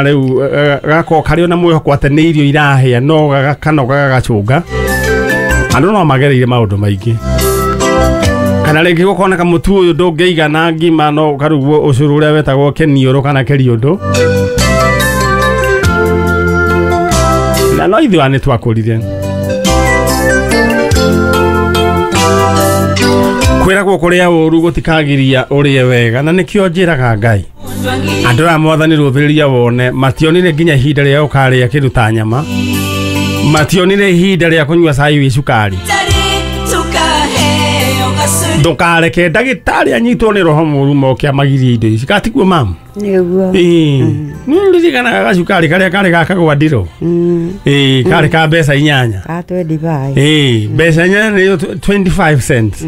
Rĩu gakorwo karĩ ona mwĩhoko atĩ nĩ irio irahĩa no gakanoga gagacũnga. Andũ no magereire maũndũ maingĩ, kana rĩngĩ gũkoneka mũtu ũyũ ndũngĩigana ngima no ũkarugwo ũcũrũ ũrĩa wetagwo kĩniũrũ kana kĩriũndũ, na no ithuĩ nĩ twakũrire. Kwĩragwo kũrĩa ũru gũtikagiria ũrĩe wega, na nĩkĩo njĩraga Ngai andũ aya mwathani rũthĩrĩria wone mationire nginya ihinda rĩa gũkarĩa kĩndũ ta nyama, mationire ihinda rĩa kũnyua cai wĩ cukari. Ndũkareke ndagĩtarĩ anyitwo nĩ roho mũru moke amagirie indo ici katiguo mamu. Nĩguo. Ĩĩ, nĩ ũririkanaga gacukari karĩa karĩ ga kagwandiro? Ĩĩ, karĩ ka mbeca 8. Ka 25. Ĩĩ, mbeca 8 nĩyo 25 cents.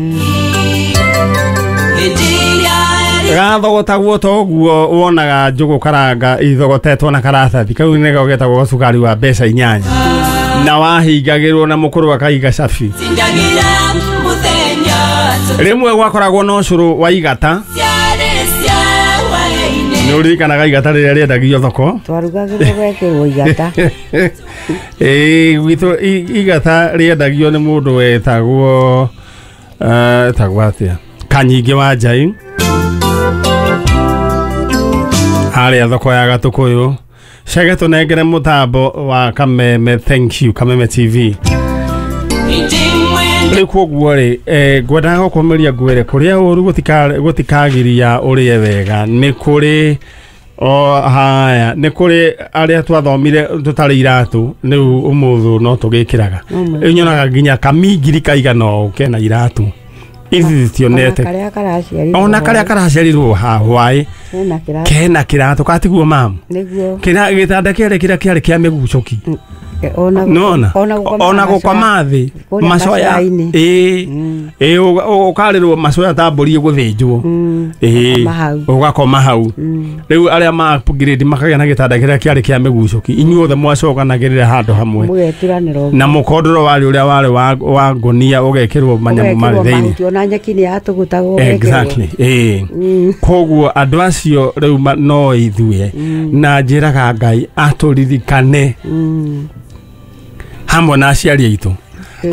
Gathogotagwo ta ũguo wonaga njũgũ karanga ithogotetwo na karatathi kau nĩko getagwo gacukari wa mbeca 8, na wahingagĩrwo na mũkũrũ akaiga cabi. Rĩmwe gwakoragwo na ũcũrũ wa igata. Nĩ ũririkanaga igata rĩrĩa rĩendagio thoko? Twarugagĩrwo gwekĩrwo igata. Ĩĩ, gwitũ igata rĩendagio nĩ mũndũ wetagwo etagwo atĩa, Kanyingĩ wa Njai, harĩa thoko ya Gatũkũyũ. Cege tũnengere mũtambo wa Kameme, thank you Kameme TV. Rĩu koguo rĩ, ngwendaga gũkũmĩria ngwĩre kũrĩa ũru gũtikagiria ũrĩe wega. Nĩ kũrĩ o haya, nĩ kũrĩ arĩa twathomire tũtarĩ iratũ, rĩu ũmũthĩ no tũgĩkĩraga. Rĩu nyonaga nginya kamingiri kaigana ũũ kena iratũ ici citionete, ona karĩa karaciarirwo, ona karĩa karaciarirwo ha hwaĩ kena kĩratũ, kena kĩratũ katiguo mamu. Nĩguo. Kĩra gĩtanda kĩarĩ kĩrĩa kĩarĩ kĩa mĩgucũki. Ona nona ona ona gũkoma thĩ kũrĩa macoya macoya-inĩ. Ĩĩ ĩĩ, ũkarĩrwo macoya ta mbũri ĩgũthĩnjwo. Ĩĩ. Ũgakoma hau. Ũgakoma hau. Rĩu arĩa ma upgrade makagĩa na gĩtanda kĩrĩa kĩarĩ kĩa mĩgucũki, inyuothe mwacokanagĩrĩra handũ hamwe mũgeturanĩra na mũkondoro warĩ ũrĩa warĩ wa ngũnia ũgekĩrwo manyamũ marĩ thĩinĩ. Mahuti, ona nyeki nĩ yatũgũtagwo ũgekĩrwo. Exactly, ĩĩ. Koguo andũ acio rĩu no ithuĩ, na njĩraga Ngai atũririkane hamwe na aciari aitũ.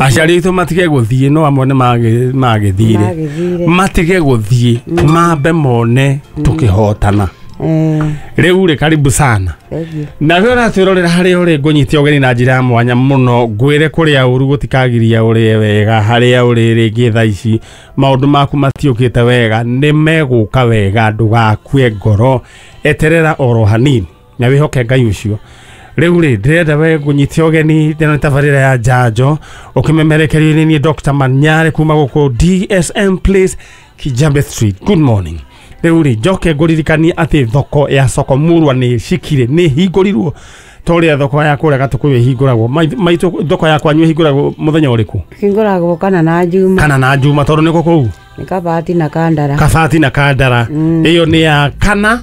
Aciari aitũ matige gũthiĩ, no amwe nĩ magĩthire. Magĩthire. Matige gũthiĩ, mambe mone tũkĩhotana. Rĩu rĩ, karibu sana. Thank you. Na we ũratwĩrorera harĩa ũrĩ, ngũnyite ũgeni na njĩra ya mwanya mũno, ngwĩre kũrĩa ũru gũtikagiria ũrĩe wega. Harĩa ũrĩ rĩngĩ thaa ici maũndũ maku matiũkĩte wega, nĩ megũka wega, ndũgakue ngoro, eterera oro hanini na wĩhoke Ngai ũcio. Rĩu rĩ, ndĩrenda we ngũnyite ũgeni ĩno nĩ tabarĩra ya njanjo ũkĩmemerekerio nĩ niĩ Dr. Manyare kuma gũkũ DSM Place, Kijambe Street. Good morning. Rĩu rĩ, njoke ngũririkanie atĩ thoko ya Soko Murwa nĩ cikire, nĩ hingũrirwo ta ũrĩa thoko ya kũrĩa Gatũkũyũ ĩhingũragwo. Maitũ, thoko ya kwanyu ĩhingũragwo mũthenya ũrĩkũ? Hingũragwo kana na Juma. Kana na Juma, tondũ nĩkũ kũu? Nĩ Kabati na Kandara. Kabati na Kandara. Ĩyo nĩ ya kana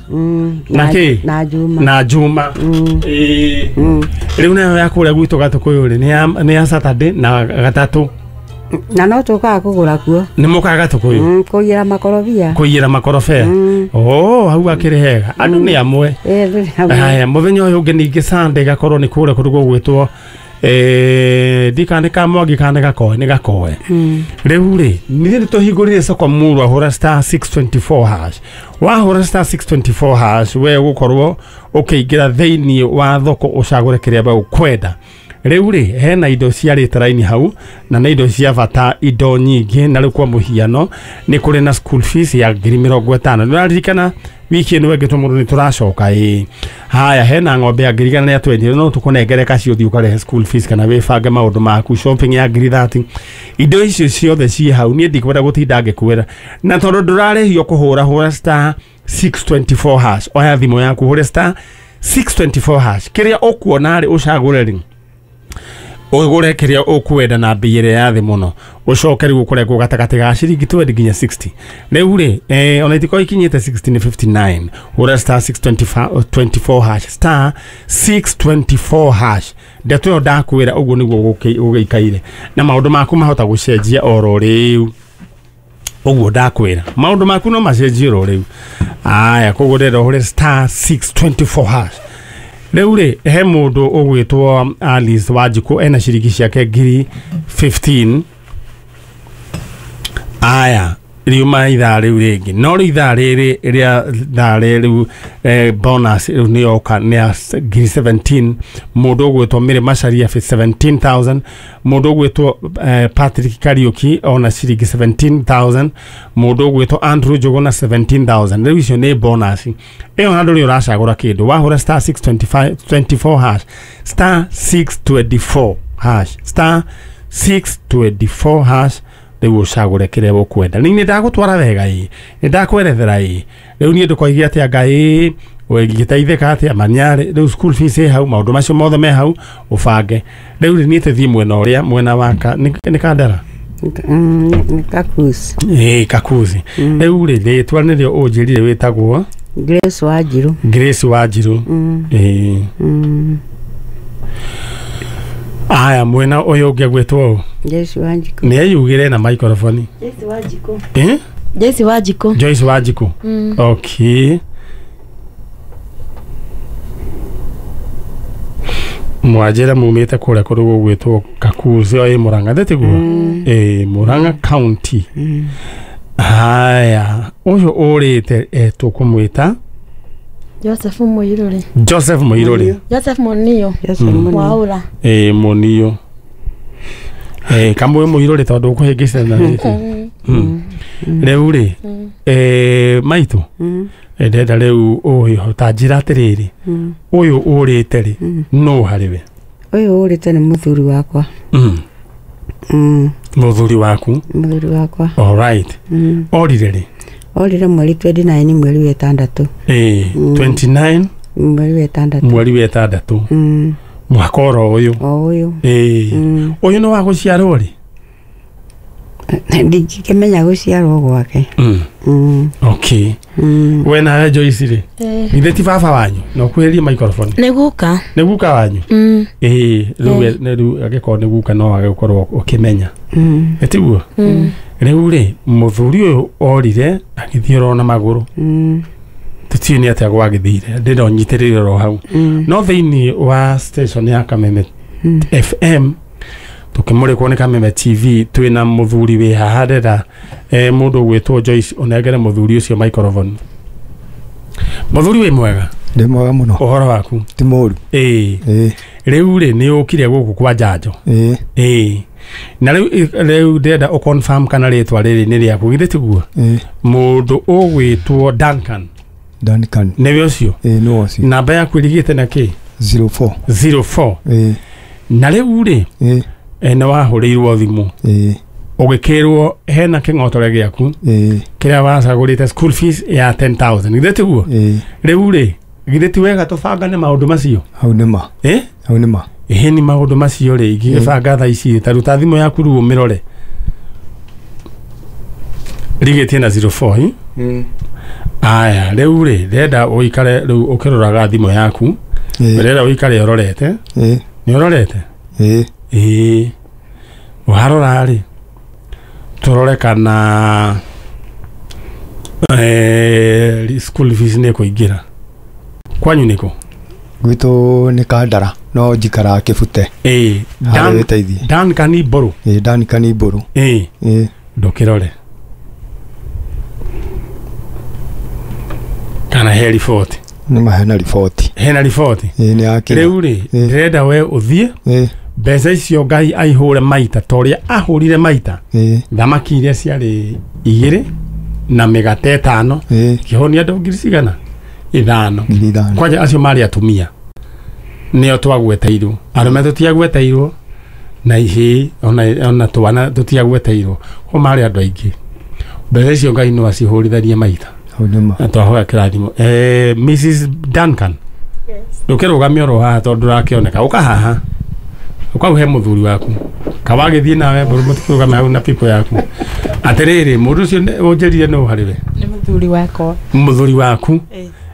na kĩ? Na Juma. Na Juma. Ĩĩ. Rĩu nayo ya kũrĩa gwitũ Gatũkũyũ rĩ, nĩ ya Saturday na gatatũ. Na no tũkaga kũgũra kuo. Nĩ mũkaga Gatũkũyũ? Kũiyĩra makorobia. Kũiyĩra makorobia. Oh, hau akĩrĩ hega, andũ nĩ amwe. Ĩĩ, ndũrĩ hamwe. Haya, mũthenya ũyũ ũngĩ ningĩ Sunday gakorwo nĩ kũrĩa kũndũ gũgwĩtwo ndikana nĩ kamwangi kana nĩ gakoe, nĩ gakoe. Rĩu rĩ, nithuĩ nĩ tũhingũrire Soko Murwa. Hũra star 624 hash. Wahũra star 624 hash, we ũgũkorwo ũkĩingĩra thĩinĩ wa thoko ũcagũre kĩrĩa we ũkwenda. Rĩu rĩ, hena indo ciarĩte raini hau na nĩ indo cia bata, indo nyingĩ. Na rĩu kwa mũhiano nĩ kũrĩ na school fees ya 50,000. Nĩ ũraririkana wiki ĩno ĩngĩ tũmũndũ nĩ tũracoka? Ĩĩ. Haya, hena ng'ombe ya 120,000, no tũkũnengere kacio ũthiĩ ũkarĩhe school fees kana wĩbange maũndũ maku. Shopping ya 30,000. Indo icio ciothe ciĩ hau, niĩ ndikwenda gũtinda ngĩkwĩra, na tondũ ndũrarĩhio kũhũra, hũra star 624 hash. Oya thimũ yaku, hũre star 624 hash, kĩrĩa ũkuona rĩ, ũcagũre rĩ, ũgũre kĩrĩa ũkwenda na mbei ĩrĩa ya thĩ mũno, ũcoke rĩu ũkũrengwo gatagatĩ ga ciringi 20 nginya 60. Rĩu rĩ, ona itikorwo ikinyĩte 60, nĩ 59. Hũra star 624 hash, star 624 hash. Ndeto ĩyo ndakwĩra ũguo nĩguo gũgĩikaire, na maũndũ maku mahota gũcenjia oro rĩu. Ũguo ndakwĩra, maũndũ maku no macenjie oro rĩu. Aya, koguo ndĩrenda ũhũre star 624 hash. Rĩu rĩ he mũndũ ũgwĩtwo Alice Wanjikũ ena ciringi ciake ngiri 15. Aya riuma ithaa rĩu rĩngĩ, no rĩu ithaa rĩrĩ rĩa ithaa rĩu bonus rĩu nĩ yoka nĩ ya ngiri 17. Mũndũ ũgwĩtwo Mary Macharia 17,000, mũndũ ũgwĩtwo Patrick Kariuki ona ciringi 17,000, mũndũ ũgwĩtwo Andrew Njuguna 17,000. Rĩu icio nĩ bonus ĩyo, na ndũrĩ ũracagũra kĩndũ, wahũra star 625 24 hash, star 624 hash, star 624 hash, rĩu ũcagũre kĩrĩa ũkwenda. Nĩ ndagũtwara wega ĩ, nĩ ndakwerethera ĩ, rĩu niĩ ndũkoige atĩa Ngai ũngĩteithĩka atĩa manyarĩ. Rĩu school fees ĩ hau, maũndũ macio mothe me hau ũbange. Rĩu rĩ niĩ tũthiĩ mwena ũrĩa mwena wa nĩ Kandara. Nĩ Kakuzi. Ĩ Kakuzi. Rĩu rĩ rĩtwa nĩrĩo ũnjĩrire wĩtagwo Grace Wanjiru. Grace Wanjiru. Ĩ. Aya mwena ũyũ ũngĩ agwĩtwo ũ? Joyce Wanjiku. Nĩ eyugĩre na microphone. Joyce Wanjiku. Eh? Joyce Wanjiku. Joyce Wanjiku. Okay. Mwanjĩra mumĩte kũrĩa kũndũ gũgwĩtwo Kakuzi ĩ Murang'a thĩtiguo? Ĩ Murang'a County. Haya, ũyũ ũrĩte tũkũmwĩta Joseph Muiruri. Joseph Muiruri. Joseph Munio. Joseph Munio. Waura. Ĩ Munio. Kamwe Muiruri tondũ ũkũhĩngĩcana rĩrĩ. Rĩu rĩ maitũ ndĩrenda rĩu ũyũ ta njĩra atĩrĩrĩ, ũyũ ũrĩte rĩ nũ harĩ we? Ũyũ ũrĩte nĩ mũthuri wakwa. Mũthuri waku? Mũthuri wakwa. All right. Orire rĩ? Orire mweri 29 mweri wa ĩtandatũ. 29 mweri wa ĩtandatũ. Mweri wa ĩtandatũ. Mwaka oro ũyũ. O ũyũ. Ũyũ nĩ wa gũciarwo rĩ? Ndingĩkĩmenya gũciarwo gwake. Okay. We nawe Joyce rĩ, githĩ ti baba wanyu? Na ũkuhĩrĩrie microphone. Nĩ guka. Nĩ guka wanyu? Ĩĩ, rĩu angĩkorwo nĩ guka no wage gũkorwo ũkĩmenya. Ĩ tiguo? Rĩu rĩ mũthuri ũyũ orire agĩthiĩ oro na magũrũ. Tũtiũĩ nĩ atĩa gwagĩthire, ndĩrenda ũnyitĩrĩre oro hau. No thĩinĩ wa station ya Kameme FM tukimurikwo nĩ Kameme TV twĩna mũthuri wĩ haha, ndĩrenda mũndũ ũgwĩtwo Joyce ũnengere mũthuri ũcio microphone. Mũthuri wĩ mwega? Ndĩ mwega mũno. Ũhoro waku? Ti mũru. Ĩĩ. Rĩu rĩ nĩ ũkire gũkũ kwa njanjo? Ĩĩ. Na rĩu ndĩrenda ũ confirm kana rĩtwa rĩrĩ nĩ rĩaku, githĩ tiguo? Mũndũ ũgwĩtwo Duncan. Duncan. Nĩwe ũcio? Ĩĩ nĩwe ũcio. Namba yaku ĩrigĩte na kĩ? 04. 04. Ĩĩ. Na rĩu rĩ nĩ wahũrĩirwo thimũ ũgĩkĩrwo hena kĩng'otore gĩaku kĩrĩa wacagũrĩte school fees ya 10,000, githĩ tiguo? Rĩu rĩ githĩ ti wega tũbangane maũndũ macio? Hau nĩ ma. Hau nĩ ma. Ĩhĩ ni maũndũ macio rĩ ingĩgĩbanga thaa ici, ta ruta thimũ yaku rĩu ũmĩrore rigĩtie na 04. Aya rĩu rĩ ndĩrenda ũikare rĩu ũkĩroraga thimũ yaku, ndĩrenda ũikare ũrorete. Nĩ ũrorete? Ĩĩ. Warora rĩ tũrore kana school fees nĩ ĩkũingĩra. Kwanyu nĩkũ? Gwitũ nĩ Kandara no njikaraga Kĩbute. Ĩĩ. Duncan Mbũrũ. Ĩĩ Duncan Mbũrũ. Ĩĩ. Ndũkĩrore kana he riboti? Nĩ ma hena riboti. Hena riboti? Ĩĩ nĩ yakĩra. Rĩu rĩ ndĩrenda we ũthiĩ mbeca icio Ngai aihũre maita ta ũrĩa ahũrire maita thamaki iria ciarĩ 2 na mĩgate 5 kĩhonia andũ ngiri cigana? 5. Kwanja acio marĩ atumia nĩo twagweteirwo, arũme tũtiagweteirwo na ihĩĩ ona twana tũtiagweteirwo, ko marĩ andũ aingĩ. Mbeca icio Ngai no acihũrithanie maita. Na twahoya kĩrathimo. Mrs Duncan. Ndũkĩrũgamie oro haha tondũ ndũrakĩoneka, ũka haha ũkau he mũthuri waku kawagĩthiĩ nawe mbũrũ mũtikĩrũgame hau na pipo yaku. Atĩrĩrĩ, mũndũ ũcio ũnjĩrire nũ harĩ we? Nĩ mũthuri wakwa. Mũthuri waku?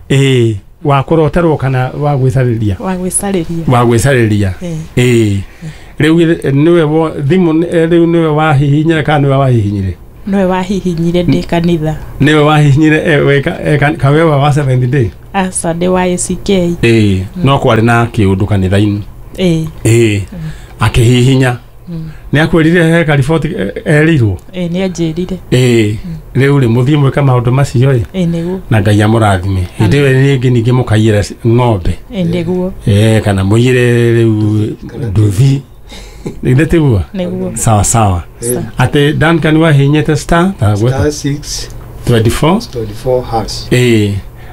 Ĩĩ. Wa kũroterwo kana wa gwĩcarĩria? Wa gwĩcarĩria. Wa gwĩcarĩria. Ĩĩ. Rĩu nĩwe thimũ rĩu nĩwe wahihinyire kana nĩwe wahihinyire? Nĩwe wahihinyire ndĩ kanitha. Nĩwe wahihinyire kawewa wa Seventh Day? Aca, ndĩ wa ACK. Ĩĩ, no kwarĩ na kĩũndũ kanitha-inĩ. Ĩĩ. Ĩĩ, akĩhihinya. Nĩ akwĩrire he kariboti erirwo? Ĩĩ, nĩ anjĩrire. Ĩĩ, rĩu rĩ mũthiĩ mwĩka maũndũ macio ĩ. Ĩĩ, nĩguo. Na Ngai amũrathime. Hĩndĩ ĩyo rĩngĩ ningĩ mũkaiyĩra ng'ombe. Ĩĩ, nĩguo. Ĩĩ, kana mũiyĩre rĩu nduthi. Nĩ tiguo? Nĩguo. Sawa sawa. Atĩ Duncan wahihinyĩte star Star 6 24 24 hash. Ĩĩ,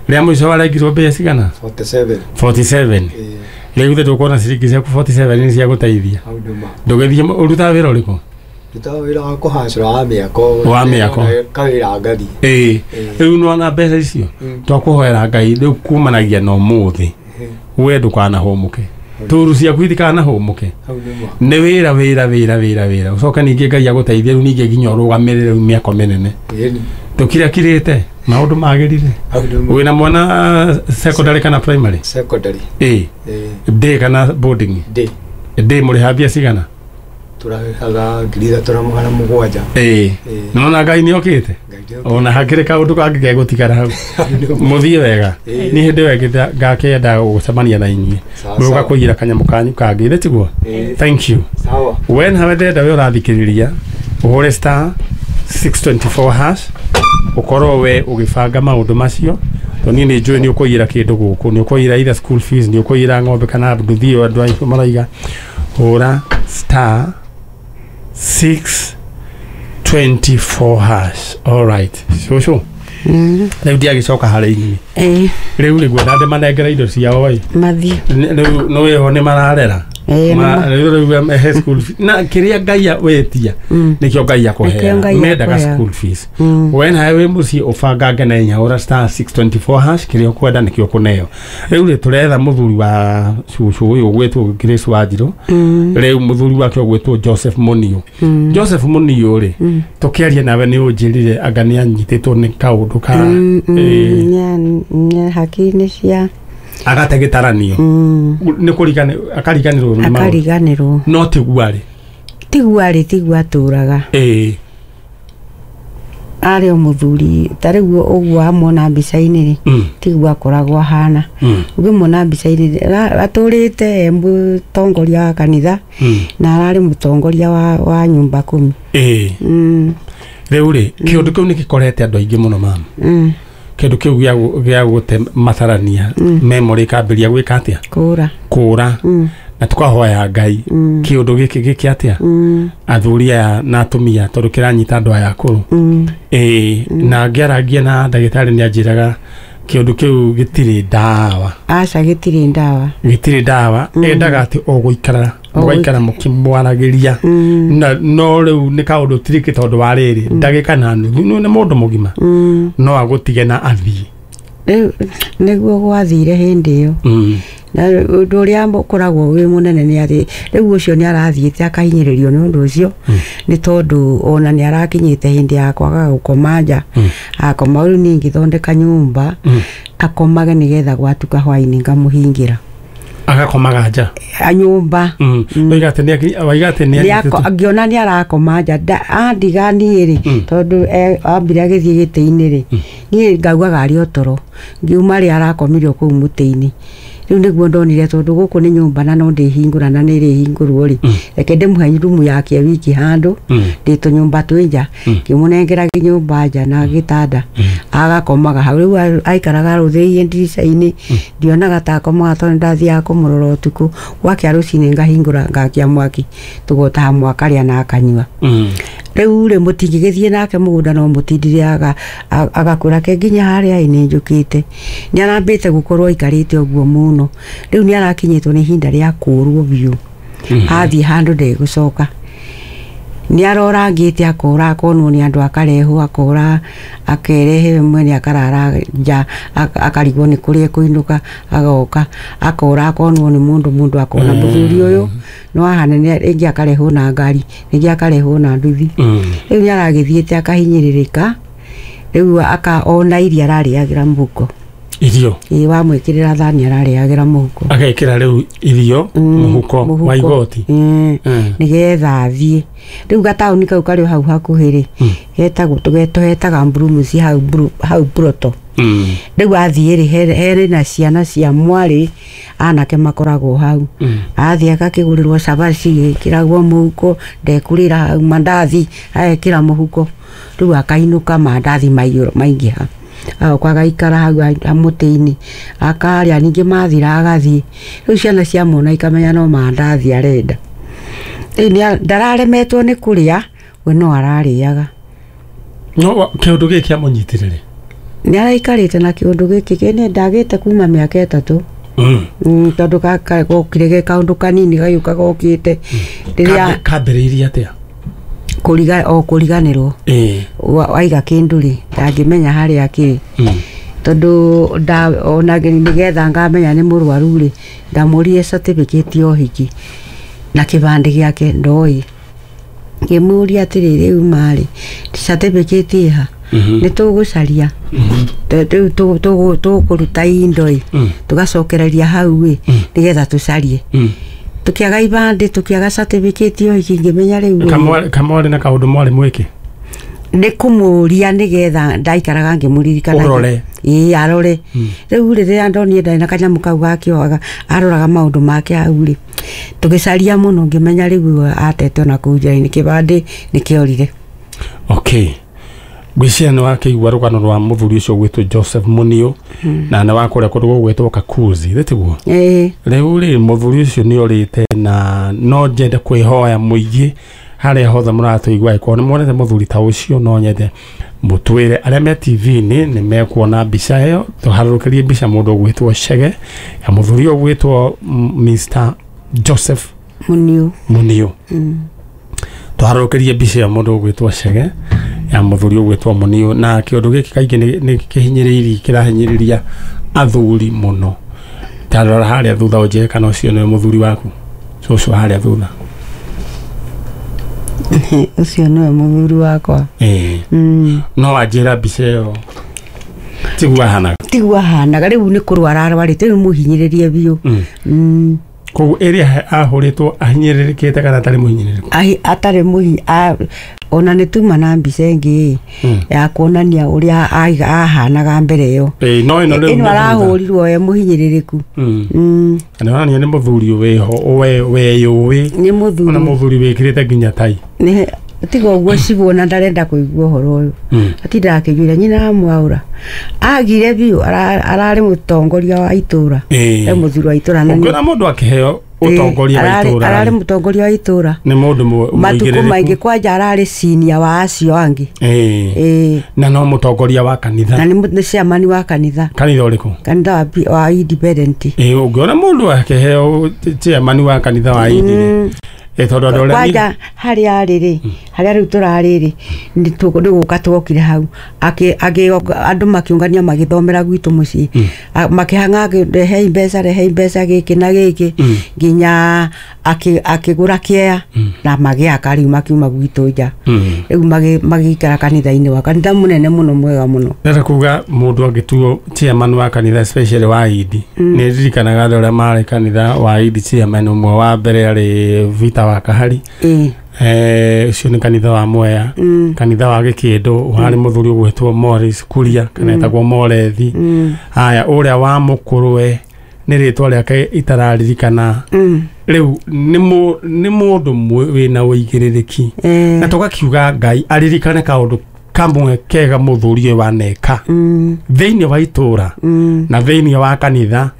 rĩa mũico warengirwo mbia cigana? 47. 47. Rĩu ithe ndũkuona ciringi ciaku 47 nĩ cia gũteithia. Hau nĩma. Ndũgĩthiĩ ũrutaga wĩra ũrĩkũ? Ndutaga wĩra wa kũhacũra wa mĩako. Wa mĩako. Kawĩra ngathi. Ĩĩ, rĩu nĩwona mbeca icio twakũhoera Ngai rĩu kumanagia na ũmũthĩ we ndũkanahũmũke, tũru ciaku itikanahũmũke. Hau nĩma. Nĩ wĩra wĩra wĩra wĩra wĩra, ũcoke ningĩ Ngai agũteithie rĩu ningĩ nginya ũrũgamĩrĩre rĩu mĩako mĩnene. Ĩni. Tũkirakirĩte maũndũ magĩrire. Hau nĩma. Wĩna mwana secondary kana primary? Secondary. Ĩĩ. Day kana boarding? Day. Day mũrĩha mbia cigana? Tũrarĩhaga 3700. Ĩĩ, nĩwona Ngai nĩokĩte ona hakĩrĩ kaũndũ kangĩ gegũtigara hau. Mũthiĩ wega. Niĩ hĩndĩ ĩyo ĩngĩ ngakĩenda gũcemania na inyuĩ mũgũka kũiyĩra kanyamũ kanyu kangĩ, ithĩ tiguo? Thank you. Sawa. We nawe ndĩrenda we ũrathikĩrĩria ũhũre star 624 hash ũkorwo we ũgĩbanga maũndũ macio, tondũ niĩ nĩ njũĩ nĩ ũkũiyĩra kĩndũ gũkũ, nĩ ũkũiyĩra either school fees, nĩ ũkũiyĩra ng'ombe kana nduthi ĩyo andũ acio maraiga. Hũra star 624 hash. All right, cũcũ, rĩu ndiagĩcoka harĩ inyuĩ. Rĩu rĩ ngwenda ndĩmanengere indo ciao ĩ. Mathiĩ. Rĩu nĩ wĩho nĩ mararera. Rĩu he school fees na kĩrĩa Ngai wetia nĩkĩo Ngai akũheaga. Mendaga school fees. We nawe wĩ mũciĩ ũbangange na hinya, hũra star 624 hash, kĩrĩa ũkwenda nĩkĩo ũkũneo. Rĩu rĩ tũretha mũthuri wa cũcũ ũyũ ũgwĩtwo Grace Wanjirũ. Rĩu mũthuri wake ũgwĩtwo Joseph Muniu. Joseph Muniu rĩ, tũkĩaria nawe nĩ ũnjĩrire anga nĩ anyitĩtwo nĩ kaũndũ ka hakiri-inĩ cia agate gĩtaranio. Nĩ kũriganĩrwo, akariganĩrwo nĩ maũndũ. Akariganĩrwo. No tiguo arĩ. Tiguo arĩ, tiguo atũraga. Ĩĩ. Arĩ o mũthuri ta rĩu ũguo amuona mbica-inĩ rĩ, tiguo akoragwo ahana. Ũngĩmuona mbica-inĩ atũrĩte e mũtongoria wa kanitha na ararĩ mũtongoria wa nyũmba kumi. Ĩĩ. Rĩu rĩ, kĩũndũ kĩu nĩ gĩkorete andũ aingĩ mũno mama. Kĩndũ kĩu gĩa gũte matarania memory ĩkambĩrĩria gwĩka atĩa? Kũra. Kũra. Na tũkahoya Ngai kĩũndũ gĩkĩ gĩke atĩa? Athuri aya na atumia tondũ kĩranyita andũ aya akũrũ. Ĩĩ, na ngĩarangia na ndagĩtarĩ nĩ anjĩraga kĩũndũ kĩu gĩtirĩ ndawa. Aca, gĩtirĩ ndawa. Gĩtirĩ ndawa. Endaga atĩ o gũikara mũgaikara mũkĩmwaragĩria. No rĩu nĩ kaũndũ tiriki tondũ wa rĩrĩ ndagĩka na nuthu nĩ mũndũ mũgima no agũtige na athiĩ. Rĩu nĩguo gwathire hĩndĩ ĩyo. Na ũndũ ũrĩa ũkoragwo wĩ mũnene nĩ atĩ rĩu ũcio nĩ arathiĩte akahinyĩrĩrio nĩ ũndũ ũcio, nĩ tondũ ona nĩ arakinyĩte hĩndĩ ya kwaga gũkoma nja. Akoma rĩu niĩ ngĩthondeka nyũmba akomage nĩgetha gwatuka hwaĩ-inĩ ngamũhingĩra. Agakomaga nja? Nyũmba. Waiga atĩ nĩ anyitĩtwo. Ngĩona nĩ arakoma nja, andiga niĩ rĩ, tondũ ambire agĩthiĩ gĩtĩ-inĩ rĩ, niĩ ngaugaga arĩ o toro, ngiuma rĩ arakomire o kũu mũtĩ-inĩ. Rĩu nĩguo ndonire tondũ gũkũ nĩ nyũmba na no ndĩhingũra na nĩ ĩrĩhingũrwo rĩ, reke ndĩmũhe rumu yake wiki handũ, ndĩ tũnyũmba twĩ nja, ngĩmũnengera nyũmba nja na gĩtanda, agakomaga hau. Rĩu aikaraga arũthĩrĩirie ndirica-inĩ, ndionaga ta akomaga tondũ ndathiaga kũmũrora ũtukũ. Gwakĩa rũcinĩ ngahingũra ngakia mwaki, tũgota hamwe akarĩa na akanyua. Rĩu rĩ, mũtingĩgĩthiĩ nake mũgũnda no mũtindire agakũra ke nginya harĩa ĩ nĩ njũkĩte. Nĩ arambĩte gũkorwo aikarĩte ũguo mũno. Rĩu nĩ arakinyĩtwo nĩ ihinda rĩa kũũrwo biũ. Athiĩ handũ ndegũcoka. Nĩ arorangĩte akora akonwo nĩ andũ akarehwo, akora akerehe we mwene akarara nja, akarigwo nĩ kũrĩa ekũinũka, agoka akora akonwo nĩ mũndũ akona mũthuri ũyũ no ahanene, rĩngĩ akarehwo na ngari, rĩngĩ akarehwo na nduthi. Rĩu nĩ aragĩthiĩte akahinyĩrĩrĩka. Rĩu ona iria ararĩagĩra mũhuko. Irio Ĩĩ, wamwĩkĩrĩra thani ararĩagĩra mũhuko. Agekĩra rĩu irio mũhuko wa igoti. Nĩgetha athiĩ rĩu gataũni kau karĩ o hau hakuhĩ rĩ, getagwo tũhetaga Mburumuci hau hau Broto. Rĩu athiĩ rĩ, herĩ na ciana cia mwarĩ anake makoragwo hau. Athiĩ agakĩgũrĩrwo cabaci, ĩkĩragwo mũhuko, ndekũrĩra hau, mandathi agekĩra mũhuko, rĩu akainũka mandathi maingĩha, agoka agaikara hau mũtĩ-inĩ akarĩa, ningĩ mathira agathiĩ. Rĩu ciana ciamwona ikamenya no mandathi arenda. Rĩu ndararemetwo nĩ kũrĩa, we no ararĩaga. No kĩũndũ gĩkĩ kĩamũnyitire rĩ? Nĩ araikarĩte na kĩũndũ gĩkĩ kĩne ndagĩte kuma mĩaka 3. Tondũ gokire ge kaũndũ kanini gagĩũka gokĩte. Rĩrĩa kambĩrĩirie atĩa? Kũriganĩrwo. Waiga kĩndũ rĩ, ndangĩmenya harĩa kĩrĩ. Tondũ ona nĩgetha ngamenya nĩ mũrwaru rĩ, ndamũririe certificate ya ũhiki na kĩbandĩ gĩake ndoĩ. Ngĩmũria atĩrĩ, rĩu marĩ certificate ĩha? Nĩ tũgũcaria. Rĩu tũkũruta indo ĩ, tũgacokereria hau ĩ, nĩgetha tũcarie. Tũkĩaga ibandĩ, tũkĩaga certificate ya ũhiki, ngĩmenya rĩu Kamwarĩ na kaũndũ mwarĩ mwĩke? Nĩ kũmũria nĩgetha ndaikaraga ngĩmũririkanagia. Ũrore. Ĩĩ, arore. Rĩu rĩrĩa ndonire ndarĩ na kanyamũ kau gakĩohaga, aroraga maũndũ make hau rĩ, tũgĩcaria mũno ngĩmenya rĩu atete ona kũu njĩra-inĩ, kĩbandĩ nĩkĩorire. Okay. Ngwĩciria nĩ wakĩigua rũgano rwa mũthuri ũcio ũgwĩtwo Joseph Muniu, na nĩ wa kũrĩa kũndũ gũgwĩtwo Kakuzi, githĩ tiguo? Ĩĩ. Rĩu rĩ, mũthuri ũcio nĩ orĩte, na no nyende kwĩhoya mũingĩ harĩa hothe mũratũigua, angĩkorwo nĩ muonete mũthuri ta ũcio, no nyende mũtwĩre. Arĩa me TV-inĩ nĩ mekuona mbica ĩyo, tũharũrũkĩrie mbica mũndũ ũgwĩtwo Chege ya mũthuri ũyũ ũgwĩtwo Mr Joseph Muniu. Muniu. Tũharũrũkĩrie mbica ya mũndũ ũgwĩtwo Chege ya mũthuri ũgwĩtwo Muniu, na kĩũndũ gĩkĩ kaingĩ nĩ kĩhinyĩrĩirie, kĩrahinyĩrĩria athuri mũno. Ta rora harĩa thutha ũnjĩre kana ũcio nĩwe mũthuri waku, cũcũ harĩa thutha. Ũcio nĩwe mũthuri wakwa. No wanjĩra mbica ĩyo tiguo ahanaga? Tiguo ahanaga, rĩu nĩ kũrwara arwarĩte, rĩu mũhinyĩrĩrie biũ. Koguo ĩrĩa ahũrĩtwo ahinyĩrĩrĩkĩte kana atarĩ mũhinyĩrĩrĩku? Atarĩ ona nĩ tuma na mbica ĩngĩ ya kuonania ũrĩa ahanaga mbere ĩyo. No ĩno rĩu ĩno arahũrirwo e mũhinyĩrĩrĩku. Na onania nĩ mũthuri wĩho, weyũĩ. Nĩ mũthuri. Ona mũthuri wĩkĩrĩte nginya tai. Tiga ũguo cibũ ona ndarenda kũigua ũhoro ũyũ. Atindaga akĩnjĩra nyina amwaũra. Agire biũ, ararĩ mũtongoria wa itũra. E mũthuri wa itũra. Ũngĩona mũndũ akĩheo ũtongoria wa itũra. Ararĩ mũtongoria wa itũra. Nĩ mũndũ mũigĩrĩrĩku. Matukũ maingĩ kwanja ararĩ senior wa acio angĩ. Na no mũtongoria wa kanitha. Na nĩ chairman wa kanitha. Kanitha ũrĩkũ? Kanitha wa Independent. Ũngĩona mũndũ akĩheo chairman wa kanitha wa Independent. Tondũ andũ arĩa kwanja harĩa arĩ rĩ, harĩa rĩu tũrarĩ rĩ, nĩ gũka twokire hau, andũ makĩũngania magĩthomera gwitũ mũciĩ, makĩhang'a rehei mbeca, rehei mbeca gĩkĩ na gĩkĩ, nginya akĩgũra kĩea na magĩaka rĩu makiuma gwitũ nja. Rĩu magĩikara kanitha-inĩ wa kanitha mũnene mũno mwega mũno. Ndĩrenda kuga mũndũ angĩtuo chairman wa kanitha especially wa Idi, nĩ ndirikanaga andũ arĩa marĩ kanitha wa Idi chairman ũmwe wa mbere arĩ Vita wa Kahari. Ũcio nĩ kanitha wa Mwea, kanitha wa Gĩkĩndũ warĩ mũthuri ũgwĩtwo Morris Kuria kana etagwo Morethi. Haya, ũrĩa wa mũkũrwe nĩ rĩtwa rĩake itararirikana. Rĩu nĩ mũndũ wĩna ũigĩrĩrĩki, na tũgakiuga Ngai aririkane kaũndũ kamwe kega mũthuri ũyũ waneka thĩinĩ wa itũra na thĩinĩ wa kanitha.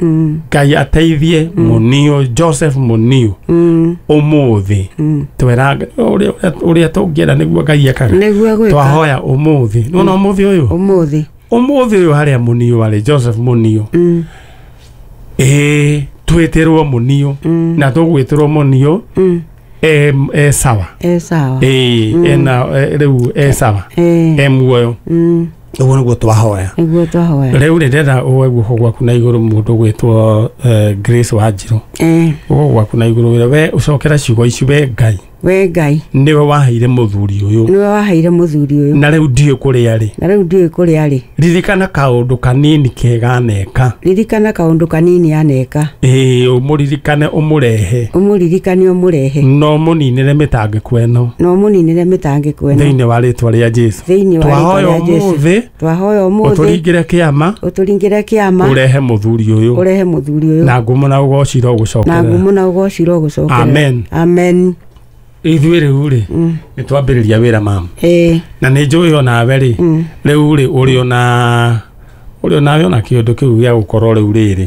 Ngai ateithie Muniu, Joseph Muniu ũmũthĩ twera ũrĩa tũngĩenda nĩguo Ngai ekaga, twahoya ũmũthĩ. Nĩwona ũmũthĩ ũyũ, ũmũthĩ ũyũ harĩa Muniu arĩ, Joseph Muniu, twĩtĩrwo Muniu na tũgwĩtĩrwo Muniu e sawa, ena rĩu e sawa, e muoyo. Ũguo nĩguo twahoya. Rĩu rĩ, ndĩrenda ũe guoko gwaku na igũrũ mũndũ ũgwĩtwo Grace Wanjirũ. Guoko gwaku na igũrũ wĩre we ũcokera ciugo ici, we Ngai. We Ngai niwe waheire muthuri uyu. Niwe waheire muthuri uyu. Na riu ndiũ kũrĩa arĩ. Na riu ndiũ kũrĩa arĩ. Ririkana kaũndũ kanini kega aneka. Ririkana kaũndũ kanini aneka. Ĩĩ ũmũririkane ũmũrehe. Ũmũririkane ũmũrehe. No mũninĩre mĩtangĩko ĩno. No mũninĩre mĩtangĩko ĩno. Thĩinĩ wa rĩtwa rĩa Jesũ. Thĩinĩ wa rĩtwa rĩa Jesũ. Twahoya ũmũthĩ. Ũtũringĩre kĩama. Ũtũringĩre kĩama. Ũrehe mũthuri ũyũ. Ũrehe mũthuri ũyũ. Na ngumo na ũgoci irogũcokerera. Na ngumo na ũgoci irogũcokerera. Amen. Amen. Ithuĩ rĩu rĩ nĩ twambĩrĩria wĩra mama. Na nĩ njũĩ onawe rĩ rĩu rĩ ũrĩ ona ũrĩ onawe ona kĩũndũ kĩu gĩa gũkorwo rĩu rĩrĩ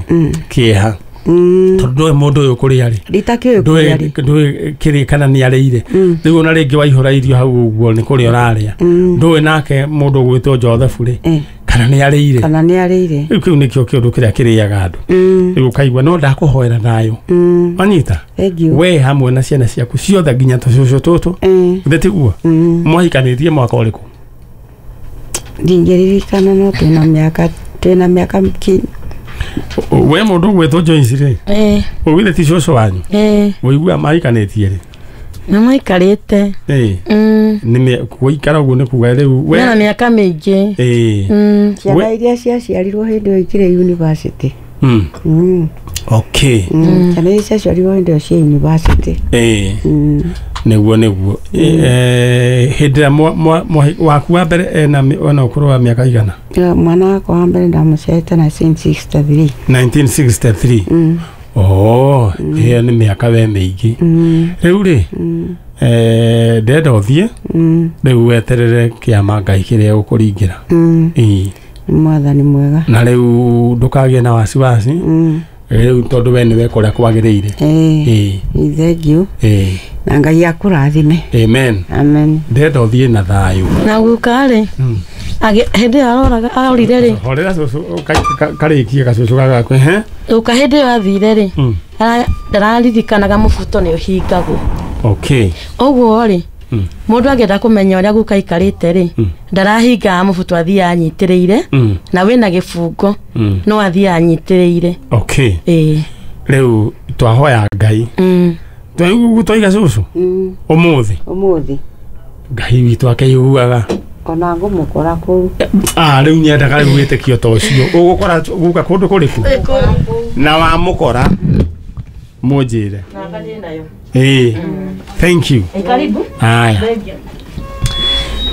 kĩeha tondũ ndũĩ mũndũ ũyũ kũrĩa rĩ nditakĩũĩ kũrĩa rĩ ndũĩ kĩrĩ kana nĩ arĩire rĩu ona rĩngĩ waihũra irio hau ũguo nĩ kũrĩa ũrarĩa ndũĩ nake mũndũ ũgwĩtwo Joseph rĩ kana nĩ arĩire kana nĩ arĩire rĩu kĩu nĩkĩo kĩũndũ kĩrĩa kĩrĩaga andũ rĩu ũkaigua no ndakũhoera thayũ wanyita we hamwe na ciana ciaku ciothe nginya tũcũcũ tũtũ githĩ tiguo mwahikanĩtie mwaka ũrĩkũ ndingĩririkana no twĩna mĩaka we mũndũ ũgwĩtwo Joyce rĩ ũgithĩ ti cũcũ wanyu ũiguaga mahikanĩtie rĩ nĩ maikarĩte nĩ gũikara ũguo nĩ kuga rĩu we na mĩaka mĩingĩ ciana iria ciaciarirwo hĩndĩ ĩyo ikĩrĩ university okay ciana iria ciaciarirwo hĩndĩ ĩyo ciĩ university nĩguo nĩguo hĩndĩ ĩrĩa waku wa mbere ena ũkũrũ wa mĩaka igana mwana wakwa wa mbere ndamũciarĩte 1963 1963 oh ĩyo nĩ mĩaka we mĩingĩ rĩu rĩ ndenda ũthiĩ rĩu weterere kĩama Ngai kĩrĩa gũkũringĩra ĩĩ mwathani mwega na rĩu ndũkagĩe na wasiwasi rĩu tondũ we nĩwe kũrĩa kwagĩrĩire ĩĩ thank you na Ngai akũrathime amen amen ndenda ũthiĩ na thayũ na guka rĩ hĩndĩ ĩyo aroraga arorire rĩ horera cũcũ karĩkie gacũcũ gagaku guka hĩndĩ ĩyo athire rĩ ndararirikanaga mũbuto nĩ ũhingagwo okay ũguo rĩ mũndũ angĩenda kũmenya ũrĩa guka aikarĩte rĩ ndarahingaga mũbuto athiĩ anyitĩrĩire na wĩna gĩbungo no athiĩ anyitĩrĩire okay ĩĩ rĩu twahoya Ngai twaiga cũcũ ũmũthĩ ũmũthĩ Ngai witũ akeiguaga ona ngũmũkora kũu rĩu nyendaga rĩu wĩtĩkio ta ũcio ũgũkora guka kũndũ kũrĩkũ na wamũkora mũnjĩre ĩĩ thank you karibu aya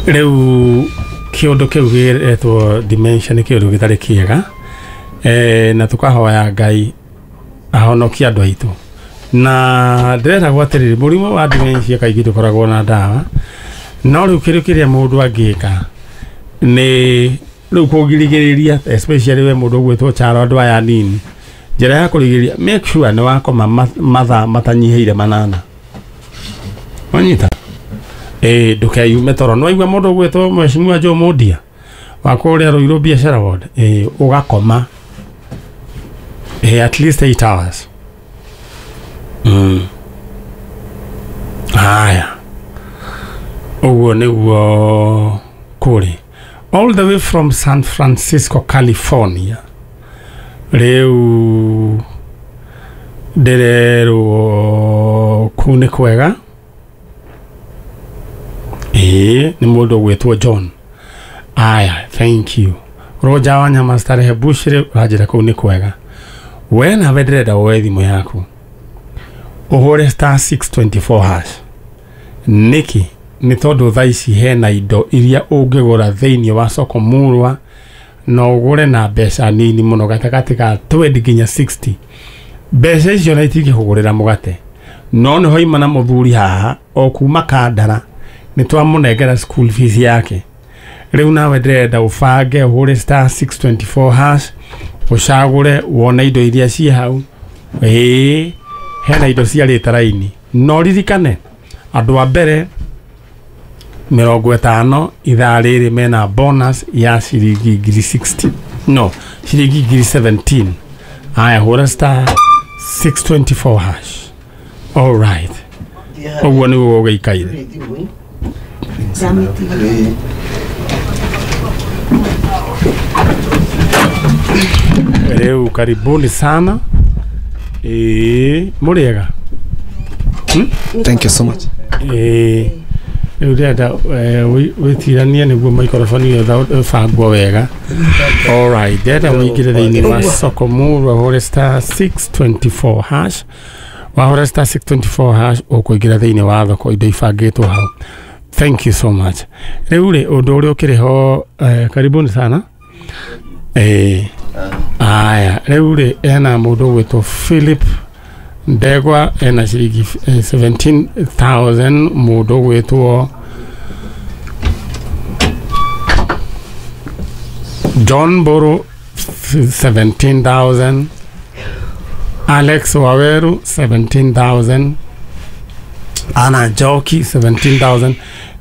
rĩu kĩũndũ kĩu gĩretwo dementia nĩ kĩũndũ gĩtarĩ kĩega na tũkahoya Ngai ahonokie andũ aitũ na ndĩreragwo atĩrĩrĩ mũrimũ wa dementia kaingĩ ndũkoragwo na ndawa no rĩu kĩrĩa kĩrĩa mũndũ angĩka nĩ rĩu kũgirĩrĩria especially we mũndũ ũgwĩtwo Charo andũ aya anini njĩra ya kũrigĩrĩria make sure nĩ wakoma mathaa matanyihĩire 8 wanyita ndũkeyume toro nĩ waigua mũndũ ũgwĩtwo Mheshimiwa Joe Mundia wa kũrĩa Ruiru Biashara Ward ũgakoma at least 8 hours haya ũguo nĩguo kũrĩ all the way from San Francisco California rĩu ndĩrerwo kũu nĩ kwega ĩĩ nĩ mũndũ ũgwĩtwo John aya thank you Roger wa Nyama Starehe Bushire ũranjĩra kũu nĩ kwega we nawe ndĩrenda woe thimũ yaku ũhũre star 624 hash nĩkĩ nĩ tondũ thaa ici hena indo iria ũngĩgũra thĩinĩ wa soko murwa na ũgũre na mbeca nini mũno gatagatĩ ka 20 nginya 60 mbeca icio na itingĩkũgũrĩra mũgate no nĩho ima na mũthuri haha o kuma Kandara nĩ twamũnengera school fees yake rĩu nawe ndĩrenda ũbange ũhũre star 624 hash ũcagũre wone indo iria ciĩ hau ĩĩ hena indo ciarĩte raini no ririkane andũ a mbere 50 ithaa rĩrĩ mena bonus ya ciringi 60 no ciringi 17 aya hũra star 624 hash all right ũguo nĩguo gũgĩikaire rĩu karibuni sana mũrĩega Thank you so much. Rĩu ndĩrenda wĩtiranie nĩguo microphone ĩyo ĩbangwo wega. Alright, ndĩrenda ũingĩre thĩinĩ wa soko murwa ũhũre star 624 hash. Wahũra star 624 hash ũkũingĩra thĩinĩ wa thoko indo ibangĩtwo hau. Thank you so much. Rĩu rĩ ũndũ ũrĩa ũkĩrĩ ho, karibuni sana. Aya, rĩu rĩ ena mũndũ ũgwĩtwo Philip Ndegwa ena ciringi 17,000, mũndũ ũgwĩtwo John Boro 17,000, Alex Waweru 17,000, Anna Njoki 17,000.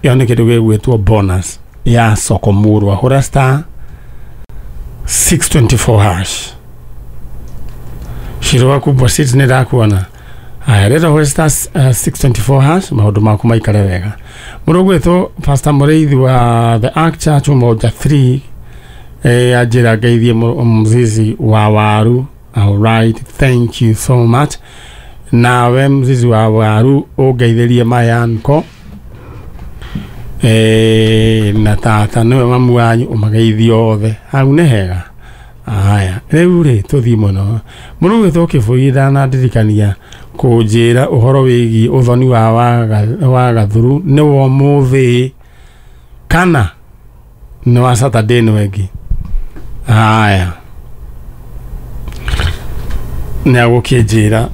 Ĩyo nĩ kĩndũ gĩgwĩtwo bonus ya soko murwa. Hũra star 624 hash. Shirwa kubwa sit nĩ ndakuona. Aya, rĩrĩa hũra star 624 hash maũndũ maku maikare wega. Mũndũ ũgwĩtwo Pastor Mũrĩithi wa The Ark Church Umoja 3 anjĩra ngeithie mzizi wa waru. Alright, thank you so much. Nawe mzizi wa waru ũngeithĩrie mayanko na tata nĩwe mamu wanyu ũmageithie othe. Hau nĩ hega. Aya, rĩu rĩ tũthiĩ mũno. Mũndũ ũgwĩtwo Kĩbũi ndanandirikania kũnjĩra ũhoro wĩgiĩ ũthoni wa Gathuru nĩ wa ũmũthĩ kana nĩ wa Saturday ĩno ĩngĩ. Aya, nĩ agũkĩnjĩra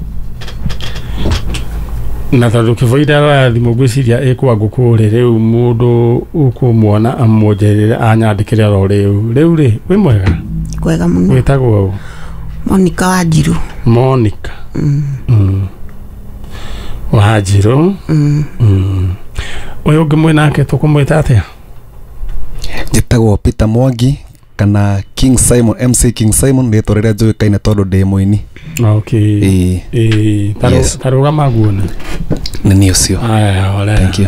na tondũ Kĩbũi ndaroya thimũ ngwĩciria ĩkwa ngũkũ rĩ, rĩu mũndũ ũkũmuona amwongerere anyandĩkĩre oro rĩu. Rĩu rĩ wĩ mwega? Kwega mũno. Wĩtagwo ũ? Monica Wanjiru. Monica Wanjiru. Ũyũ ũngĩ mwĩ nake tũkũmwĩta atĩa? Njĩtagwo Peter Mwangi kana King Simon, MC King Simon rĩtwa rĩrĩa njũĩkaine tondũ ndĩ mũini. Okay. Tarũgama guona. Nĩ niĩ ũcio. Aya, ore. Thank you.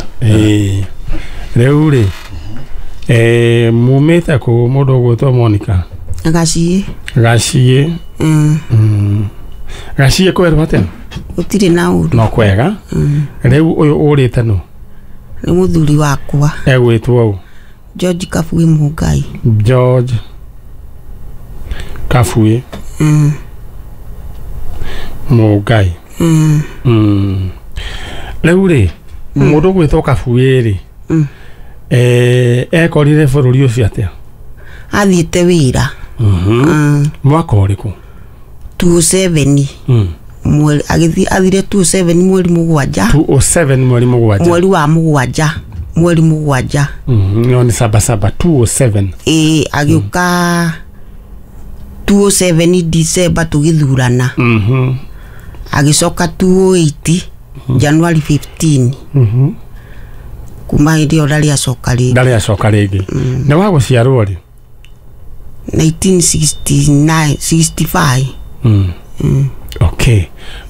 Rĩu rĩ mumĩte kũ mũndũ ũgwĩtwo Monica? Gaciĩ. Gaciĩ. Gaciĩ kwerwo atĩa? Gũtirĩ na ũru. No kwega. Rĩu ũyũ ũrĩte nũ? Nĩ mũthuri wakwa. Egwĩtwo ũ? George Kabui Mũngai. George Kabui Mũngai. Rĩu rĩ mũndũ ũgwĩtwo Kabui rĩ ekorire bũrũri ũcio atĩa? Athiĩte wĩra. Mwaka ũrĩkũ? 27. Mweri agĩthiĩ athire 27 mweri mũgwanja. 207 mweri mũgwanja. Mweri wa mũgwanja. Mweri mũgwanja. No nĩ saba saba 207. Agĩũka 207 December tũgĩthurana. Agĩcoka 208 January 15. Kuma hĩndĩ ĩyo ndarĩ acoka rĩngĩ. Ndarĩ acoka rĩngĩ. Nĩ wa gũciarwo rĩ? 1969 65. Okay.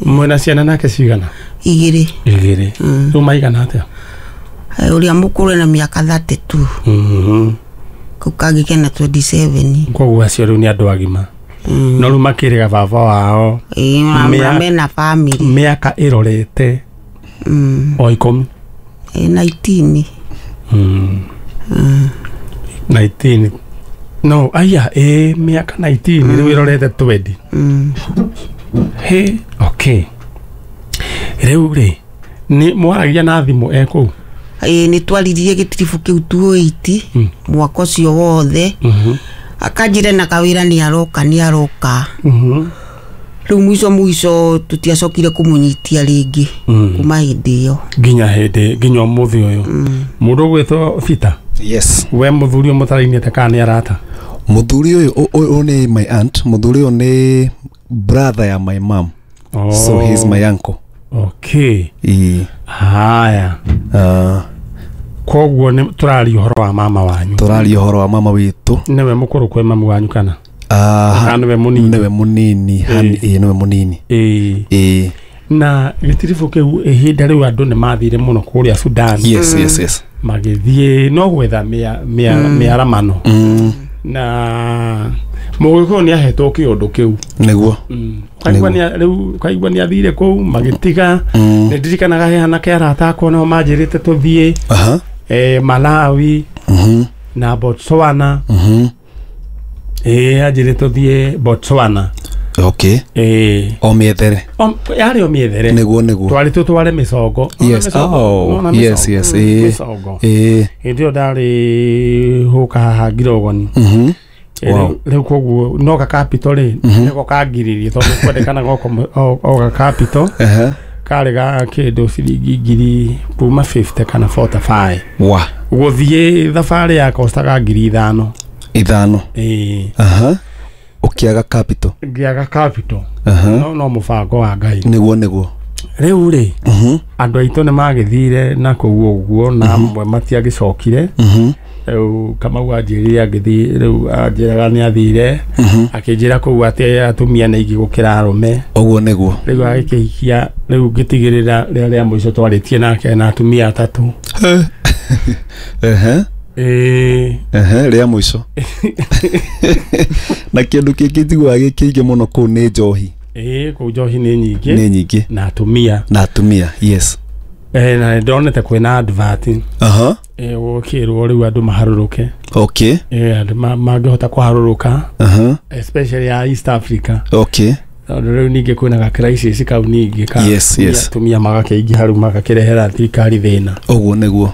Mwĩna ciana nake cigana? Igĩrĩ. Igĩrĩ. Rĩu maigana atĩa? Ũrĩa mũkũrũ ena mĩaka 32. Kau kangĩ kena 27. Koguo acio rĩu nĩ andũ agima. No rĩu makĩrĩga baba wao. Mena family. Mĩaka ĩrorete o 10. 19. 19. No, aya, mĩaka 19 rĩu ĩrorete 20. He, okay. Rĩu rĩ nĩ mwaragia na thimũ ekũu? Nĩ twaririe gĩtiribũ kĩu 208 mwaka ũcio wothe. Akanjĩra na kawĩra nĩ aroka nĩ aroka. Rĩu mũico mũico tũtiacokire kũmũnyitia rĩngĩ kuma hĩndĩ ĩyo nginya hĩndĩ nginya ũmũthĩ ũyũ. Mũndũ ũgwĩtwo Peter? Yes. We mũthuri ũyũ mũtarainĩte kana nĩ arata? Mũthuri ũyũ nĩ my aunt. Mũthuri ũyũ nĩ brother ya my mom. So he's my uncle. Okay. Haya. Koguo nĩ tũraria ũhoro wa mama wanyu. Tũraria ũhoro wa mama witũ. Nĩwe mũkũrũ kwĩ mamu wanyu kana? Kana nĩwe mũnini? Nĩwe mũnini. Nĩwe mũnini. Na gĩtiribũ kĩu ihinda rĩu andũ nĩ mathire mũno kũrĩa Sudan. Yes, yes, yes. Magĩthiĩ no gwetha mĩaramano. Na mũgĩkũyũ nĩ ahetwo kĩũndũ kĩu. Nĩguo. Rĩu kaigua nĩ athire kũu magĩtiga. Nĩ ndirikanaga he anake arata akwa nao manjĩrĩte tũthiĩ Malawi na Botswana. Anjĩrĩte tũthiĩ Botswana. Okay. O mĩethere. Yarĩ o mĩethere. Nĩguo nĩguo. Twarĩ tũtware mĩcongo. Yes. Oh. Yes, yes. Mĩcongo. Hĩndĩ ĩyo ndarĩ hũka haha Ngirogoni. Rĩu koguo no ga capital rĩ nĩko kangiririe tondũ kwendekanaga o ga capital karĩ ga kĩndũ ciringi ngiri kuma 50 kana 45. Wa. Gũthiĩ thabarĩ ya kostaga 5,000. 5. Ũkĩaga capital. Ngĩaga capital. No mũbango wa Ngai. Nĩguo nĩguo. Rĩu rĩ andũ aitũ nĩ magĩthire na kũu ũguo na amwe matiagĩcokire. Rĩu Kamau anjĩrire agĩthiĩ rĩu anjĩraga nĩ athire akĩnjĩra kũu atĩ atumia nĩ aingĩ gũkĩra arũme. Ũguo nĩguo. Rĩu agĩkĩhikia rĩu ngĩtigĩrĩra rĩrĩa rĩa mũico twarĩtie nake na atumia atatũ. Rĩa mũico. Na kĩndũ kĩngĩ njiguaga gĩ kĩingĩ mũno kũu nĩ njohi. Kũu njohi nĩ nyingĩ. Nĩ nyingĩ. Na atumia. Na atumia, yes. Na ndonete kwĩna advert. Gũkĩrwo rĩu andũ maharũrũke. Okay. Andũ mangĩhota kũharũrũka. Especially ya East Africa. Okay. Tondũ rĩu ningĩ kwĩna ga crisis kau ningĩ ka. Yes, yes. Atumia magakĩingĩha rĩu magakĩrehera thirikari thĩna. Ũguo nĩguo.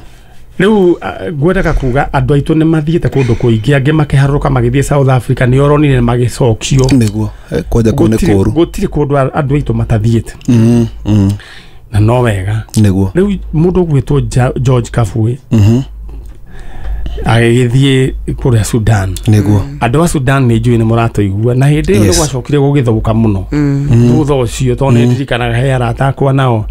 Rĩu ngwendaga kuga andũ aitũ nĩ mathiĩte kũndũ kũingĩ angĩ makĩharũrũka magĩthiĩ South Africa nĩ oronire magĩcokio. Nĩguo. Kwanja kũu nĩ kũũru. Gũtirĩ kũndũ andũ aitũ matathiĩte. Na no wega. Nĩguo. Rĩu mũndũ ũgwĩtwo George Kabui agĩgĩthiĩ kũrĩa Sudan. Nĩguo. Andũ a Sudan nĩ njũĩ nĩ mũratũigua na hĩndĩ ĩyo nĩ gwacokire gũgĩthũka mũno. Thutha ũcio tondũ nĩ ndirikanaga he arata akwa nao